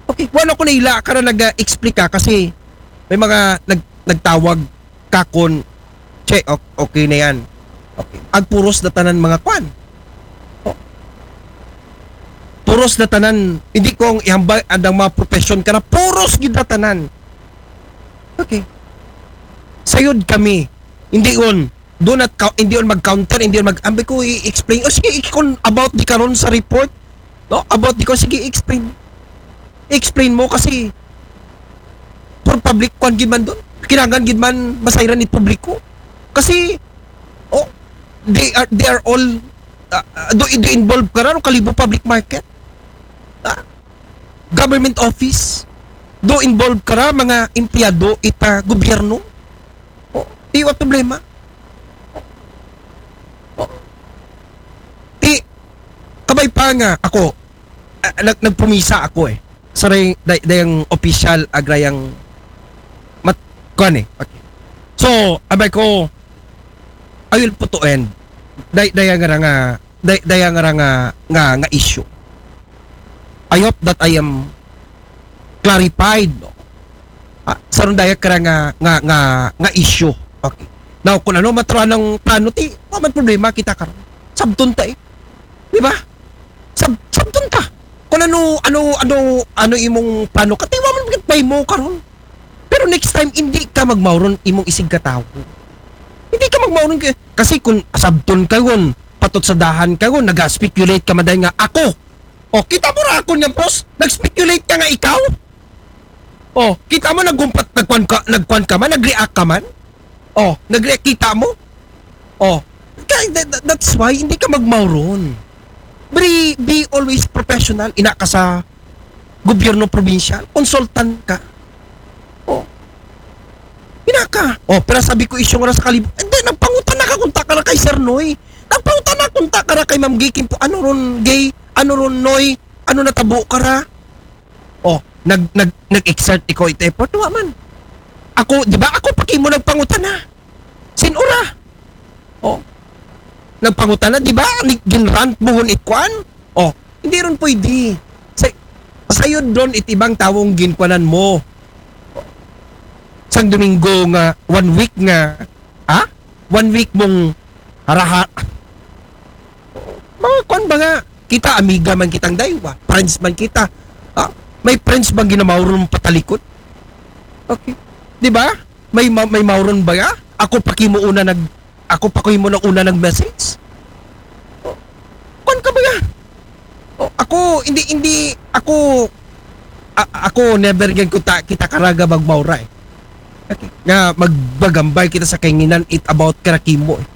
Okay, wala ko na ila ka na nag-explica kasi may mga nag, nagtawag kakon, che, o-, okay na yan. Okay. Agpuros na tanan mga kwan. O. Puros na tanan, hindi ko ang ihambal andang mga profession ka na, puros gid na tanan. Okay. Sayod kami. Hindi on. Do not cou-, hindi on mag-counter, hindi on mag-, ambi ko i-explain. O sige, ikon about di karon sa report. No? About di ko, sige, explain. Explain mo kasi for public kwan gid man doon. Kinangan gid man masayran ni publiko. Kasi, oh, they are, they are all, uh, uh, do, do involved ka ra, no? Kalibo public market. Ah, government office. Do involved ka ra, mga empleyado ita gobyerno. Oh, di wa problema. Oh. Ti, kabay pa nga ako, ah, nag-, nagpumisa ako eh. Sa day-, day-, dayang official, agrayang mat-, kuan eh. Okay. So, abay ko, I will put to end. Day-, daya nga ra nga, day-, daya nga ra nga, nga, nga issue. I hope that I am clarified, no? Ah, sa ron daya ka ra nga, nga, nga, nga issue. Okay. Now, kung ano matro anang plano, ti, wa man problema kita karon. Sabton ta eh. Di ba? Sab-, sabton ta. Kung ano, ano, ano, ano imong plano, katiwa man gid pay mo karon. Pero next time, hindi ka magmawron imong isig ka tawo. Hindi ka magmawron kay, kasi kung sabton ka yun, patot sa dahan ka yun, nag-speculate ka maday nga ako. O, kita mo ra ako niya, boss? Nag-speculate ka nga ikaw? O, kita mo, nagkumpat, nagkwan ka, nagkwan ka man, nag-react ka man? O, nag-react, kita mo? O, kaya, that, that- that's why, hindi ka magmawron. Be, be always professional, ina ka sa gobyerno probinsyal, consultant ka. O. Ina ka. O, pero sabi ko, isyong ra sa Kalibo. Hindi, Nagpangutana ka kung ta ka ra kay Sir Noy. Nagpangutana kung ta ka ra kay Ma'am Gay Kimpo. Ano ron, Gay? Ano ron, Noy? Ano natabo ka ra? Oh, nag, nag, nag-exert ikaw ito effort. Wa man. Ako, di ba? Ako pa kimo nagpangutana. Sin-o ra? Oh. Nagpangutana, di ba? Ni, ginrant mo hon ikwan? Oh, hindi ron pwede. Sa, sayod ron itibang tawong ginkwanan mo. Sang Domingo nga, one week nga, ha? One week mong haraha. Mga kwan ba nga? Kita, amiga man kitang daywa. Friends man kita. Ha? May friends bang ginamawron patalikod? Okay. Di ba? May, ma- may mawron ba nga? Ako pa kimo una nag... Ako pa ko mo nang una nag-message? Oh. Kwan ka ba nga? Oh, ako, hindi, hindi, ako, a- ako, never gan ko ta- kita karaga magmawra eh. Okay. Nga, magbagambay kita sa kanginan, it about karakimo eh.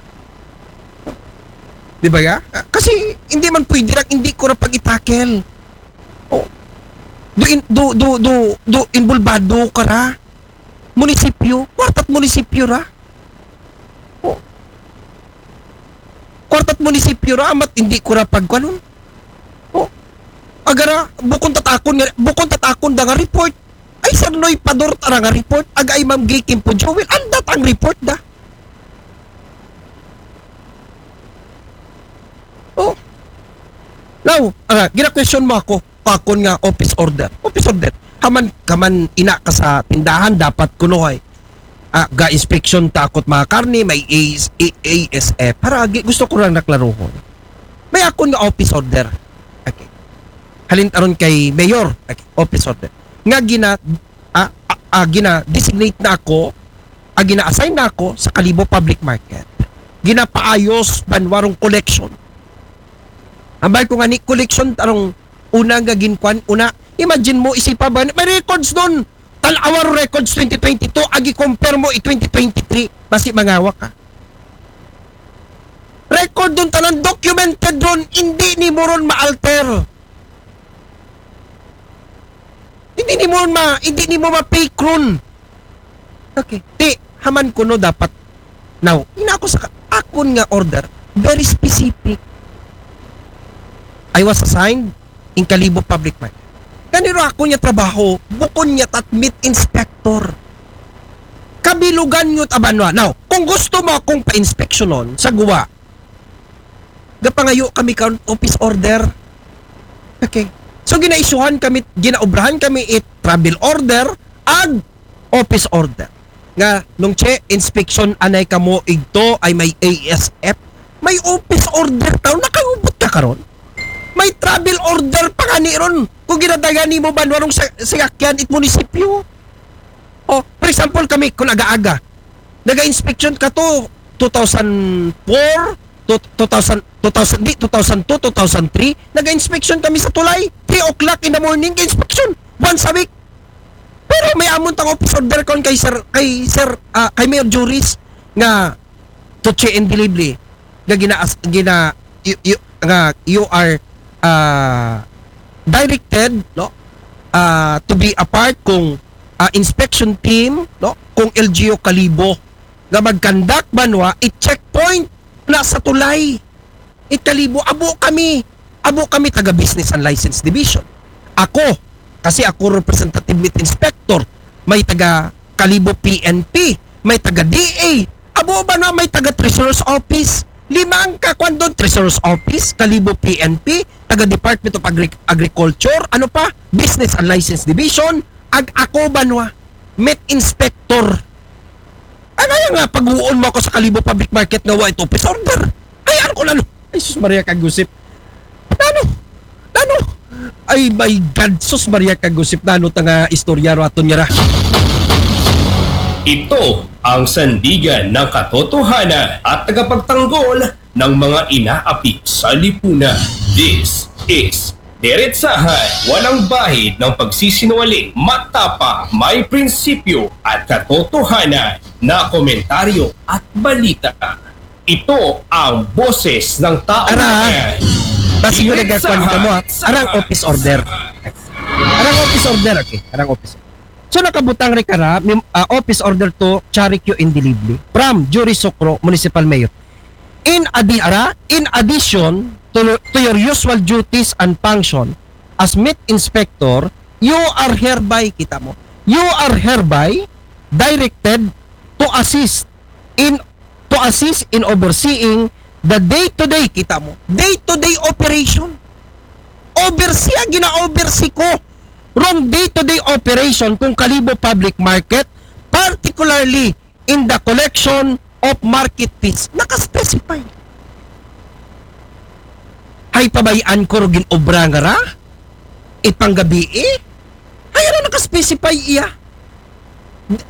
Di ba ya? Ah, kasi, hindi man pwede lang, hindi ko ra pag-itakel. Oh. Do, in, do, do, do, do, involvado ka ra. Munisipyo, kwarta't munisipyo ra. Oh. Kwarta't munisipyo ra, amat hindi ko ra pagkwanon. Oh. Agara, bukon tatakon nga, bukon tatakon da nga report. Ay, Sir Noy Pador tara nga report. Aga ay Ma'am Gay Kimpo Joel. Andat ang report da. Oh. Now, ah, gina-question mo ako. Pakon nga office order. Office order. Haman, kaman ina ka sa tindahan, dapat kuno ay. Ah, ga inspection takot mga karne, may A S, A- A S F. Para agi, gusto ko lang naklaruhon. May akon nga office order. Okay. Halin aron kay mayor. Okay. Office order. Nga gina, ah, ah, ah, gina designate na ako, ah, gina assign na ako sa Kalibo Public Market. Ginapaayos banwarong collection. Ambay ko nga ni collection tarong una nga ginkwan, una, imagine mo, isipa ba, may records nun. Tan-awa ro records twenty twenty-two, agi compare mo i twenty twenty-three, basi mangawa ka. Record dun tanan, documented ron, hindi nimo ron ma-alter. Hindi nimo ron ma, hindi nimo ma-fake ron. Okay. Ti, haman kuno dapat. Now, ina ako sa ka- akon nga order, very specific. I was assigned in Kalibo Public Market. Ganiro ako niya trabaho, bukon niya tat meat inspector. Kabilugan nyo tabanwa. Now, kung gusto mo akong pa-inspectionon sa guwa, gapangayo kami ka office order. Okay. So, ginaisyuhan kami, ginaobrahan kami it travel order, ag office order. Nga, nung che, inspection anay kamo igto ay may A S F. May office order tao, nakangubot ka karon. May travel order pa kani ron. Kung ginadagan nimo banwa rong sa, sayakyan it munisipyo. Oh, for example, kami, kung aga-aga, naga-inspection ka to, two thousand four, to, two thousand, two thousand, di, two thousand two, two thousand three, naga-inspection kami sa tulay, three o'clock in the morning, inspection, once a week. Pero may amon tang office order kon kay Sir, kay Sir, ah, kay Mayor Juris nga to che and delivery nga gina, gina you, you, nga you are, ah, directed, no, ah, to be a part kung, ah, inspection team, no, kung L G U Kalibo nga mag-conduct banwa it checkpoint na sa tulay. It Kalibo, abo kami. Abo kami taga Business and License Division. Ako, kasi ako representative meat inspector, may taga Kalibo P N P, may taga D A. Abo banwa may taga Treasurer's Office. Lima ang kakwan doon, Treasurer's Office, Kalibo P N P, taga Department of Agri- Agriculture, ano pa, Business and License Division, ag ako banwa, meat inspector. Ano nga pag-uon mo ako sa Kalibo Public Market nga wa ito office order? Ay, ano ko na, no? Ay, sus Maria Kagusip. Nano? Nano? Ay, my God, sus Maria Kagusip. Nano ta nga istorya ro aton nga ra? Ito ang sandigan ng katotohanan at tagapagtanggol ng mga inaapi sa lipunan. This is Deretsahan, walang bahid ng pagsisinungaling, matapang, may prinsipyo at katotohanan na komentaryo at balita. Ito ang boses ng taong Ara, bayan. Basi ko nagkakuan ka mo, ha? Arang office order. Arang office order, okay. Arang office order. So nakabutang rin ka ra, mim- ah, office order to Charikyo Indilibli from Jury Sukro, Municipal Mayor. In adi ara, in addition to, to your usual duties and function as meat inspector, you are hereby, kita mo, you are hereby directed to assist in to assist in overseeing the day-to-day, kita mo, day-to-day operation. Oversee, ah, gina-oversee ko rong day-to-day operation kung Kalibo Public Market, particularly in the collection of market fees. Naka-specify. Hay pabayaan ko ro gin-obra nga ra? Ipanggabii? Hay ara naka-specify iya.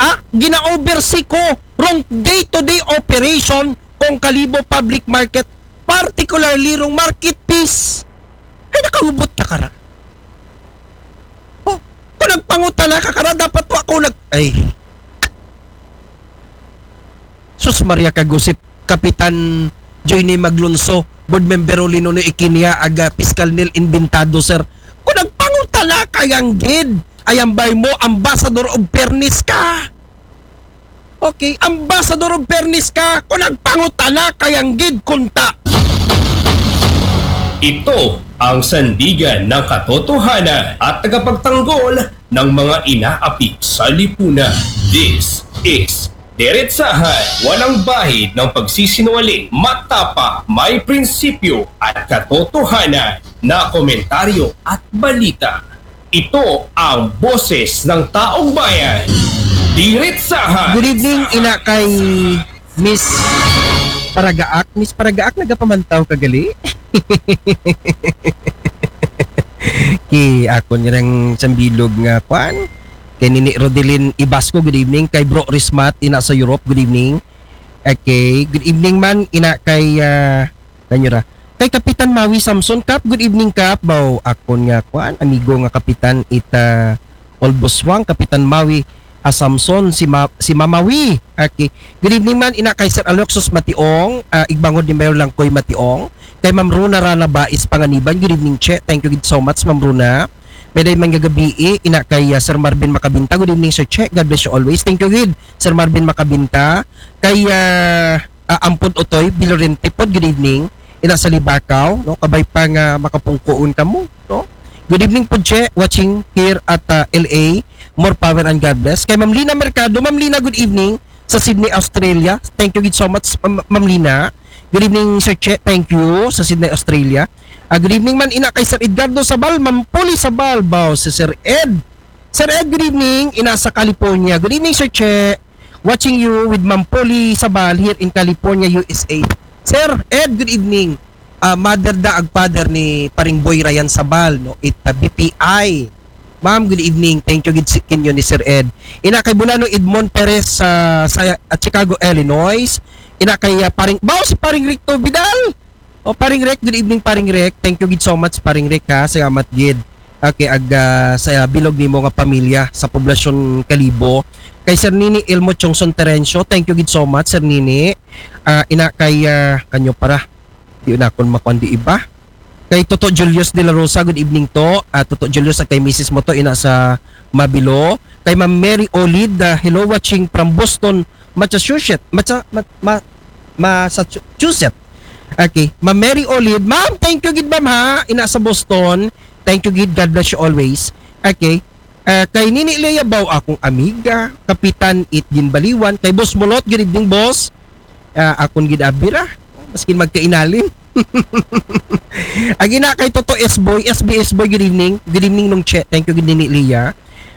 Ah, gina-oversee ko rong day-to-day operation kung Kalibo Public Market, particularly rong market fees. Hay nakahubot ka kara. Oh, kung nagpangutana ka kara, dapat wa ko nag... Ay. Sus Maria Kagusip, Kapitan Joyny Maglunso, Board Member Olino ni Ikinia, aga Fiscal Neil Inventado, sir. Kung nagpangutana ka yang gid, ayambay mo, Ambassador of Fairness ka. Okay, Ambassador of Fairness ka, kung nagpangutana ka yang gid kunta. Ito ang sandigan ng katotohanan at tagapagtanggol ng mga inaapi sa lipunan. This is Diretsahan, walang bahid ng pagsisinungaling, matapang, may prinsipyo at katotohanan na komentaryo at balita. Ito ang boses ng taong bayan. Diretsahan. Good evening, ina kay Miss Paragaak. Miss Paragaak, nagapamantaw ka gali? Ki, ako nirang sambilog nga kwan. Kay Nini Rodelin Ibasco, good evening. Kay Bro Rismat, ina sa Europe, good evening. Okay, good evening man, ina kay, ah, kanyo ra. Kay Kapitan Mawi Samson, Kap, good evening, Kap. Baw, akon nga, kwan, amigo nga Kapitan ita Olboswang, Kapitan Mawi, ah, Samson, si, Ma, si Mamawi. Okay. Good evening man, ina kay Sir Aloxos Mationg, ah, igbangod ni Mayor Langkoy Mationg. Kay Ma'am Runa Rana Bais Panganiban, good evening, Che. Thank you so much, Ma'am Runa. Meday man nga gabii, ina kay, ah, Sir Marvin Makabinta, good evening, Sir Che. God bless you always. Thank you, gid, Sir Marvin Makabinta. Kay, ah, ah, Ampon Otoy, Bilorente pod, good evening. Ina sa Libakaw, no? Kabay pa nga makapungkuon kamo, no? Good evening po, Che, watching here at, ah, L A. More power and God bless. Kay Ma'am Lina Mercado, Ma'am Lina, good evening sa Sydney, Australia. Thank you gid so much, Ma'am, Ma'am Lina. Good evening, Sir Che. Thank you sa Sydney, Australia. Ah, good evening man, ina kay Sir Edgardo Sabal, Ma'am Poli Sabal, baw, si Sir Ed. Sir Ed, good evening. Ina sa California. Good evening, Sir Che. Watching you with Ma'am Polly Sabal here in California, U S A. Sir Ed, good evening. Ah, mother da ag father ni Paring Boy Ryan Sabal, no? It, ah, B P I. Ma'am, good evening. Thank you gid si kinyo ni Sir Ed. Ina kay Bulano Edmond Perez sa, sa, ah, Chicago, Illinois. Ina kay, ah, Paring, baw si Paring Ricto Vidal. O, Paring Rek, good evening, Paring Rek. Thank you gid so much, Paring Rek, ha. Salamat gid. Okay, ag, ah, sa bilog nimo nga pamilya sa poblasyon Kalibo. Kay Sir Nini Elmo Chongson Terencio, thank you gid so much, Sir Nini. Ah, ina kay, ah, kanyo para. Di na akon makuan di iba. Kay Toto Julius de la Rosa, good evening to. Ah, Toto Julius, at kay misis mo to, ina sa Mabilo. Kay Ma'am Mary Olid, ah, hello, watching from Boston, Massachusetts. Masa, ma, ma, Massachusetts. Okay. Ma'am Mary Olid. Ma'am, thank you gid, ma'am, ha. Ina sa Boston. Thank you gid. God bless you always. Okay. Ah, kay Nini Lea Bao, akong amiga, Kapitan It Ginbaliwan, kay Boss Mulot, good evening, boss. Ah, akon gid abira, maskin magkainalim. Agi na kay Toto S Boy, S B S Boy, good evening. Good evening, Nung Che. Thank you, gid Nini Lea.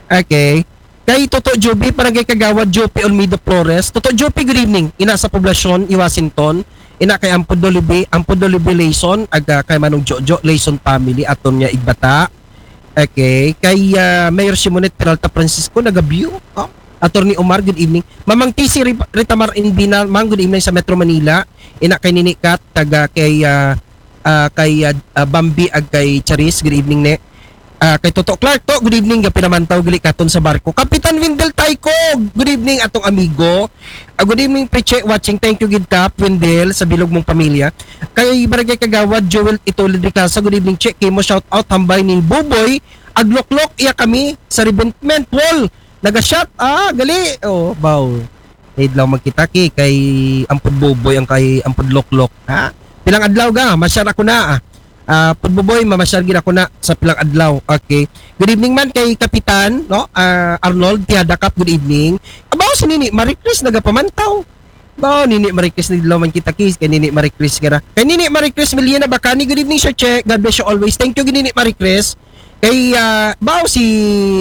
Okay. Kay Toto Joby, Barangay Kagawad, Joby Olmedo Flores. Toto Joby, good evening. Ina sa poblasyon, i Washington. Ina kay Ampod Dolibi, Ampod Dolibi Layson, aga kay Manong Jojo, Layson family, aton nga igbata. Okay. Kay, ah, Mayor Simonette Peralta Francisco, nagabyo. Oh. Attorney Omar, good evening. Mamang T C Ri-, Ritamar Inbina, mang, good evening sa Metro Manila. Ina kay Nini Kat, taga kay, ah, ah, kay, ah, ah, Bambi, ag kay Charis, good evening, ne. Ah, kay Toto Clark to, good evening, ga pinamantaw, gali katon sa barko. Kapitan Windel Taiko, good evening, atong amigo. Ah, good evening, Preche, watching, thank you, gid Kap, Windel, sa bilog mong pamilya. Kay Barangay Kagawad, Joel Itolid Ricasa, good evening, Che, kimo shout out, hambay ni Buboy, agloklok, iya kami, sa Revetment Wall, Naga-shot, ah, gali. Oh, baw. Idlaw magkita ki kay Ampod Boboy ang kay Ampod Loklok, ha? Pilang adlaw ga, ma-shot ako na, ah. Ah, Pud Boboy, mamasyal gid ako na sa pilang adlaw. Okay. Good evening man kay Kapitan, no? Ah, Arnold Tiada Cup, good evening. Abaw si Nini Maricris nagapamantaw. Baw, Nini Maricris, nidlaw man kita, kis, kay Nini Maricris gara. Kay Nini Maricris Miliana Bacani, good evening, Sir Che. God bless you always. Thank you, Nini Maricris. Kay, ah, baw si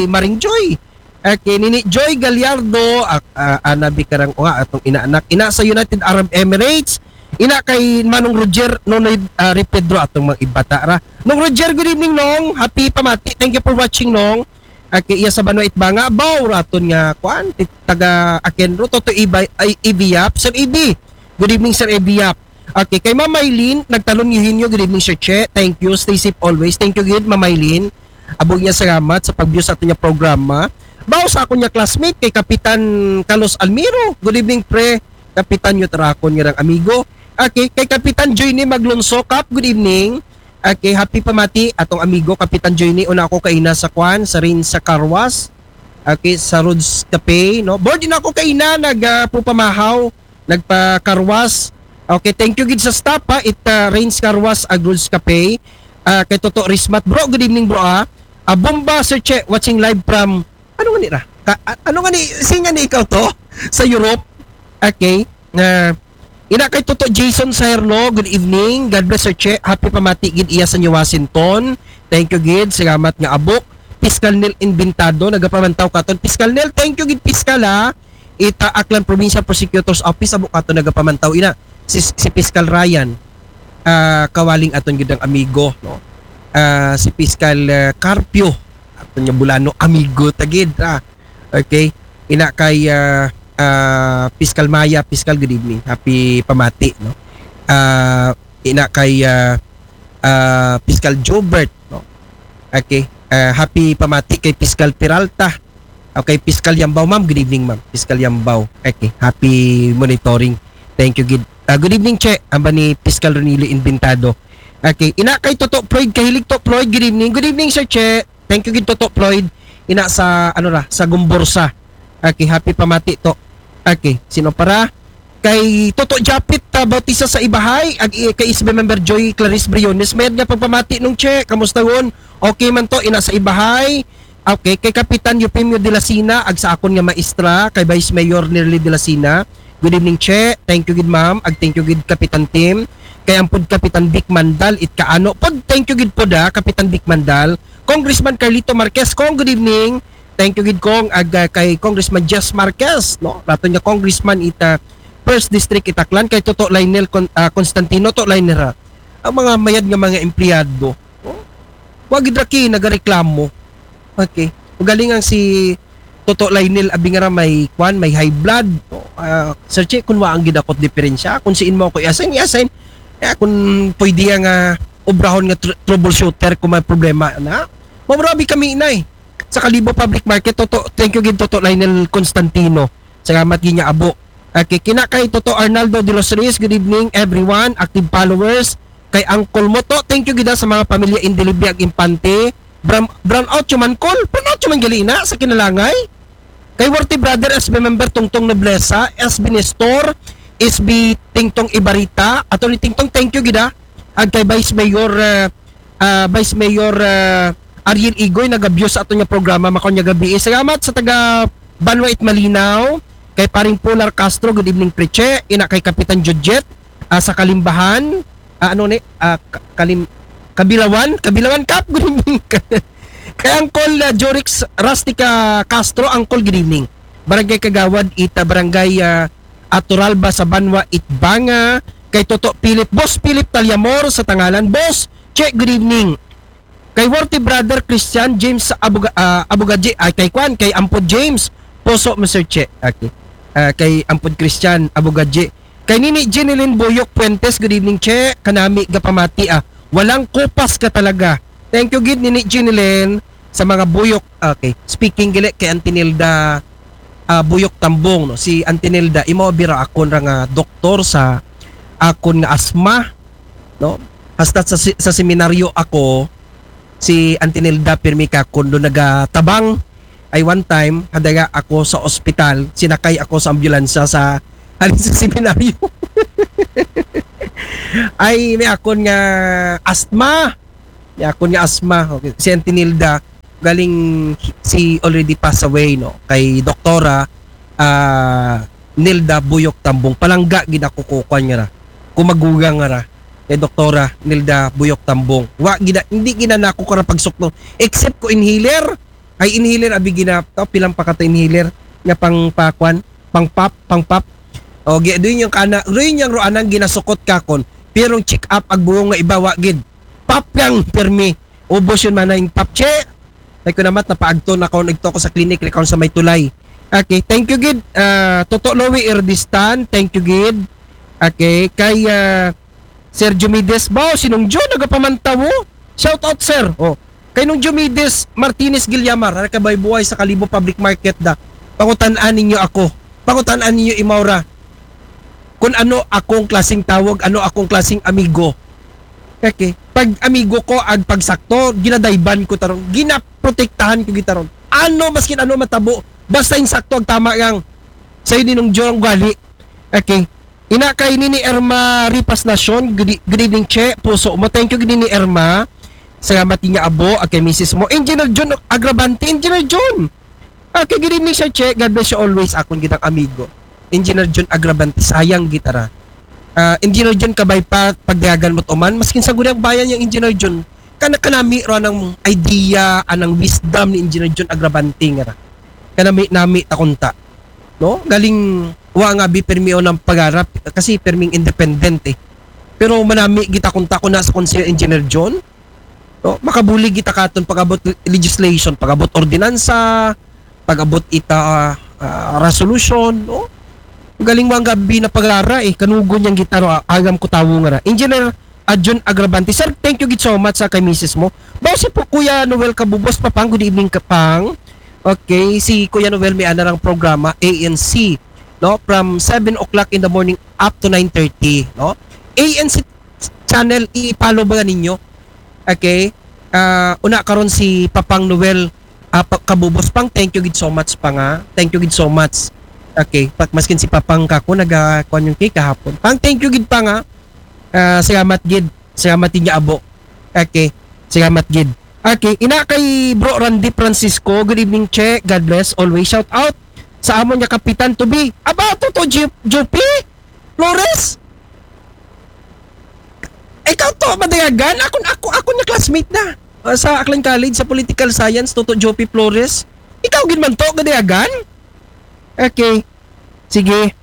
Maring Joy. Okay, Nini Joy Gallardo, ah, ah, anabi karang, o nga, atong inaanak. Ina sa United Arab Emirates. Ina kay Manong Roger, Nonoy, ah, Ri Pedro, atong mga ibata ra. Nong Roger, good evening, Nong. Happy pamati. Thank you for watching, Nong. Okay, iya sa Banwa Itbanga. Baw, raton nga, kuan, ti-, taga Akenro, Toto Iba, ay, Ibi Yap. Sir Ibi, good evening, Sir Ibi Yap. Okay, kay Ma'am Maylin, nagtalon Eugenio, good evening, Sir Che. Thank you, stay safe always. Thank you, good, Ma'am Maylin. Abog niya salamat sa pag-view sa aton niya programa. Baw sa akon niya classmate, kay Kapitan Carlos Almiro. Good evening, pre. Kapitan, yung tarakon nga rang amigo. Okay, kay Kapitan Joyny Maglonso Cap, good evening. Okay, happy pamati, atong amigo, Kapitan Joyny. Una ako kaina sa kwan, sa rin sa Carwas. Okay, sa Rods Cafe, no? Board din ako kaina, nag, ah, pupamahaw, nagpa-Carwas. Okay, thank you gid sa staff, ha, it, ah, Rains Carwas, ag Rods Cafe. Ah, kay Toto Rismat. Bro, good evening, bro, ah. Ah, Bomba, Sir Che, watching live from, ano nga ni ra? Ka, a-, ano nga ni, singa ni ikaw to? Sa Europe? Okay. Ah, ina kay Toto Jason Saherno, good evening. God bless, Sir Che. Happy pamati gid iya sa New Washington. Thank you gid. Salamat nga abok. Piskal Nel Inventado, nagapamantaw katon. Piskal Nel, thank you gid, Piskal, ha. Ita Aklan Provincial Prosecutor's Office, abok katon nagapamantaw, ina. Si, si Piskal Ryan, ah, kawaling aton gid ang amigo, no? Ah, si Piskal, ah, Carpio, aton nga Bulano, amigo ta gid, ah. Okay. Ina kay, ah, ah, Piskal Maya, Piskal, good evening. Happy pamati, no? Ah, ina kay, ah, ah, Piskal Jobert, no? Okay. Ah, happy pamati kay Piskal Peralta. Okay, Piskal Yambao, ma'am. Good evening, ma'am. Piskal Yambao. Okay, happy monitoring. Thank you, gid. Ah, good evening, Che. Amba ni Piskal Ronilio Inventado. Okay, ina kay Toto Floyd, kahilig Toto Floyd. Good evening. Good evening, Sir Che. Thank you gid, Toto Floyd. Ina sa, ano ra, sa Gumbursa. Okay, happy pamati to. Okay, sino para? Kay Toto Japit, ah, Bautista sa Ibahay, ag i-, kay S B member Joy Clarice Briones. Mayad nga pagpamati, Nong Che, kamusta hon? Okay man to, ina sa Ibahay. Okay, kay Kapitan Eufemio de la Sina, ag sa akon nga maestra, kay Vice Mayor Nerly de la Sina. Good evening, Che. Thank you gid, ma'am. Ag thank you gid, Kapitan Tim. Kay ampod Kapitan Vic Mandal, it kaano. Pod, thank you gid pod, ah, Kapitan Vic Mandal. Congressman Carlito Marquez, Kong, good evening. Thank you gid, Kong. Ag, ah, kay Congressman Jess Marquez, no? Raton nga Congressman ita First District it Aklan, kay Toto Lionel Con-, ah, Constantino, to Lionel, ha. Ang mga mayad nga mga empleyado, no? Wa gid ra ki nagareklamo. Okay. Ugaling ang si Toto Lionel, abi nga ra may kwan, may high blood. No? Ah, Sir Che, kun wa ang gidakot diferensya, kun siin mo ako i-assign, i-assign. Eh, kun pwede nga obrahon nga tr-, troubleshooter kung may problema na. Mabrabi kami, inay. Sa Kalibo Public Market, Toto, thank you gid, Toto Lionel Constantino. Salamat gid nga abo. Okay, kina kay Toto Arnaldo de los Reyes, good evening, everyone, active followers. Kay Uncle Moto, thank you gid, ah, sa mga pamilya Indilibi ag Impante. Brown, brown out yung man, Col. Brown out yung man gali na sa Kinalangay. Kay Worthy Brother, S B member Tungtong Noblesa, S B Nestor, S B Tingtong Ibarita, Attorney Tingtong, thank you gid, ah. Ag kay Vice Mayor, ah, ah, Vice Mayor, ah, Ariel Igoy, nag-abuse sa ato niya programa, makaon niya gabi. Eh, salamat sa taga Banwa it Malinaw, kay Paring Polar Castro, good evening, Preche. Ina kay Kapitan Judjet, ah, sa Kalimbahan, ah, ano ni, ah, Ka-, Kalim-, Kabilawan, Kabilawan Cup, good evening. Kay Uncle, ah, Jorix Rustica Castro, Uncle, good evening. Barangay Kagawad, ita Barangay, ah, Aturalba sa Banwa, Itbanga, kay Toto Philip, Boss Philip Talyamor sa Tangalan. Boss, Che, good evening. Kay Worthy Brother Christian, James Abuga-, ah, Abugaji, ay, kay Kwan, kay Ampod James, Poso, Mister Che. Okay. Ah, kay Ampod Christian Abugaji. Kay Nini Jeneline Boyok Puentes, good evening, Che. Kanami gapamati, ah. Walang kupas ka talaga. Thank you gid, Nini Jeneline, sa mga buyok. Okay. Speaking gali kay Auntie Nilda, ah, Buyok Tambong, no? Si Auntie Nilda, imo bira akon ra nga doktor sa akon nga asma, no? Hasta sa si-, sa seminaryo ako, si Auntie Nilda pirmi ka kundo nagatabang. Ay one time, hadaga ako sa ospital, sinakay ako sa ambulansya sa halin sa seminaryo. Ay, may akon nga asthma. May akon nga asthma. Okay. Si Auntie Nilda, galing si already passed away, no? Kay Doktora ah, Nilda Buyok Tambong. Palangga gid ako ko kwan nga ra. Kumagugang nga ra. Kay Doktora Nilda Buyok Tambong. Wa gina, hindi gina nako kara pagsukno. Except ko inhaler. Ay inhaler, abi gina, to, pilang pa ka to inhaler. Nga pang pakwan, pang pop, pang pop. O, gi, doon yung kana, doon yung roanang ginasukot ka kon. Pero check up, ag buong nga iba, wa gid. Pop lang, permi. Ubos yun, manay, pop, che. Ay ko namat, napaagto na ako, nagto ako sa clinic, ikaw sa may tulay. Okay, thank you gid. Ah, Toto Louie Irdistan, thank you gid. Okay, kay ah, Sir Jumides, bao, sinong John, nagapamantaw, oh. Shout out, sir. Oh. Kay nung Jumides Martinez Guillamar, ara ka bay buhay sa Kalibo Public Market da. Pangutan-an ninyo ako. Pangutan-an ninyo imaw ra. Kung ano akong klaseng tawag, ano akong klaseng amigo. Okay. Pag amigo ko, ag pagsakto, ginadayban ko taron. Ginaprotektahan ko gitaron. Ano, maskin ano matabo, basta yung sakto, ag tama yang sa'yo din nung John gali. Okay. Ina kay Nini Irma Ripas Nacion, good, e- good evening, Che. Puso mo. Thank you, Nini Irma. Salamat niya abo, ag kay misis mo. Engineer John Agravante, Engineer John. Okay, good evening, Sir Che. God bless you always. Akong gitang amigo. Engineer John Agravante, sayang gitara. Ah, Engineer John, kabay pa, pagdayagan mo't uman. Maskin sa gudang bayan yang Engineer John. Kana kanami ro anang idea, anang wisdom ni Engineer John Agravante nga ra. Kanami-nami takunta. No? Galing wa nga bi permi o ng pag-arap kasi perming independent eh. Pero manami gitakunta ko na sa Konsehal Engineer John. No? Makabuli kita katon pag-abot legislation, pag-abot ordinansa, pag-abot ita ah, resolution, no? Galing wa nga bi na pag-ara eh, kanugon yang gitaro, agam ko tawo nga ra. Engineer Adjun Agravante. Sir, thank you gid so much sa kay misis mo. Bao si po Kuya Noel Kabubos, Papang, good evening, Kapang. Okay, si Kuya Noel may ana rang programa, A N C, no? From seven o'clock in the morning up to nine thirty, no? A N C channel, i-follow ba ninyo? Okay? Ah, una karon si Papang Noel ah, pa, Kabubos, Pang, thank you gid so much, Pang, ah. Thank you gid so much. Okay, pa, maskin si Papang kako, naga, kuwan yung cake kahapon. Pang, thank you gid, Pang, ah. Ah, salamat gid. Salamat din niya, abo. Okay, salamat gid. Okay, ina kay Bro Randy Francisco, good evening, Che. God bless, always shout out sa amon nga kapitan to be. Aba, to, to, Ju- Jupi? Flores? Ikaw to, madayagan? Ako, ako, ako na classmate na. Ah, sa Aklan College, sa Political Science, Toto Jopi Flores. Ikaw gid man to, gadayagan? Okay. Sige.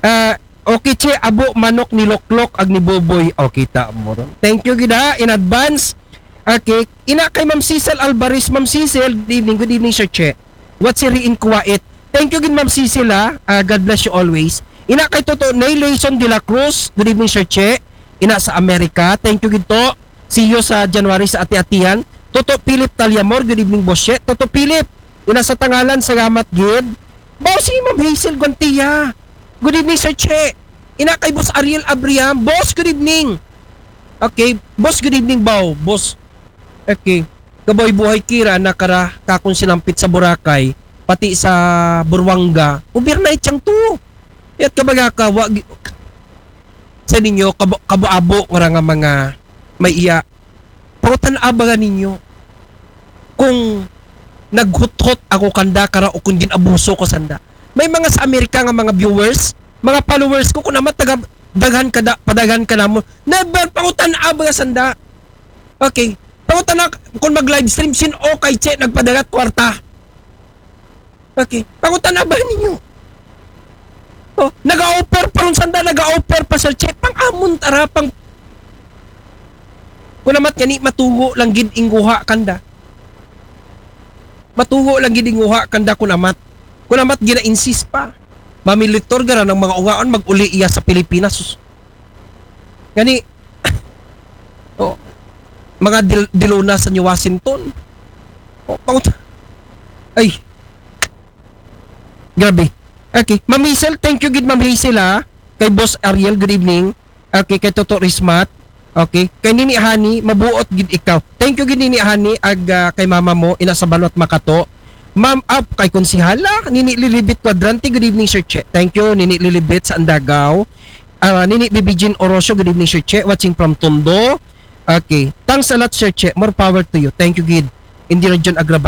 Ah, okay, Che, abo, manok ni Loklok, ag ni Boboy. O, kita mo ron. Thank you gid ha, in advance. Okay. Ina kay Ma'am Cecil Alvarez. Ma'am Cecil, good evening, good evening, Sir Che. What's your in quiet? Thank you gid, Ma'am Cecil, ha. Ah, God bless you always. Ina kay Toto Nay Layson de la Cruz, good evening, Sir Che. Ina sa Amerika, thank you gid to. See you sa January sa Ati-Atihan. Toto Philip Talyamor, good evening, Boss Che. Toto Philip, ina sa Tangalan, salamat gid. Bao si Ma'am Hazel Guantia. Good evening, Sir Che. Ina kay Boss Ariel Abriam. Boss, good evening. Okay, Boss, good evening, Bao. Boss, okay. Kaboy buhay kira, nakara, kakong sinampit sa Boracay, pati sa Buruanga. Overnight siyang to. Yat kabaga ka, wa, gi- sa ninyo, kabo, kabo-abo nga ra nga mga may iya. Pangutan-a ba ninyo kung naghuthot ako kanda kara o kung ginabuso ko sanda. May mga sa Amerika nga mga viewers, mga followers ko, kung naman taga, daghan ka da, padaghan ka namo. Never, pangutan-a ba sanda. Okay. Pangutan-a, kung mag-live stream, sin okay, Che, nagpadagat kwarta. Okay. Pangutan-a ba ninyo? Oh, naga-offer pa ron sanda, naga-offer pa, Sir Che. Pang amon tara, pang... Kunamat gani, matugo lang gid inguha kanda. Matugo lang gid inguha kanda, kunamat. Kunamat gina-insist pa. Mamilitor gara ng mga ungaon, mag-uli iya sa Pilipinas. Sus. Gani, oh, mga dil, diluna sa New Washington. Oh, pangut-, ay. Grabe. Okay. Ma'am Hazel, thank you gid, Ma'am Hazel, ha. Kay Boss Ariel, good evening. Okay, kay Toto Rismat. Okay. Kay Nini Hani, mabuot gid ikaw. Thank you gid, Nini Hani, ag ah, kay mama mo, ina sa Banwat Makato. Ma'am, up kay Konsihala, Nini Lilibit Cuadrante, good evening, Sir Che. Thank you, Nini Lilibit sa Andagaw. Ah, Nini Bibijin Orosio, good evening, Sir Che. Watching from Tondo. Okay. Thanks a lot, Sir Che. More power to you. Thank you, gid. Hindi Region Agraban.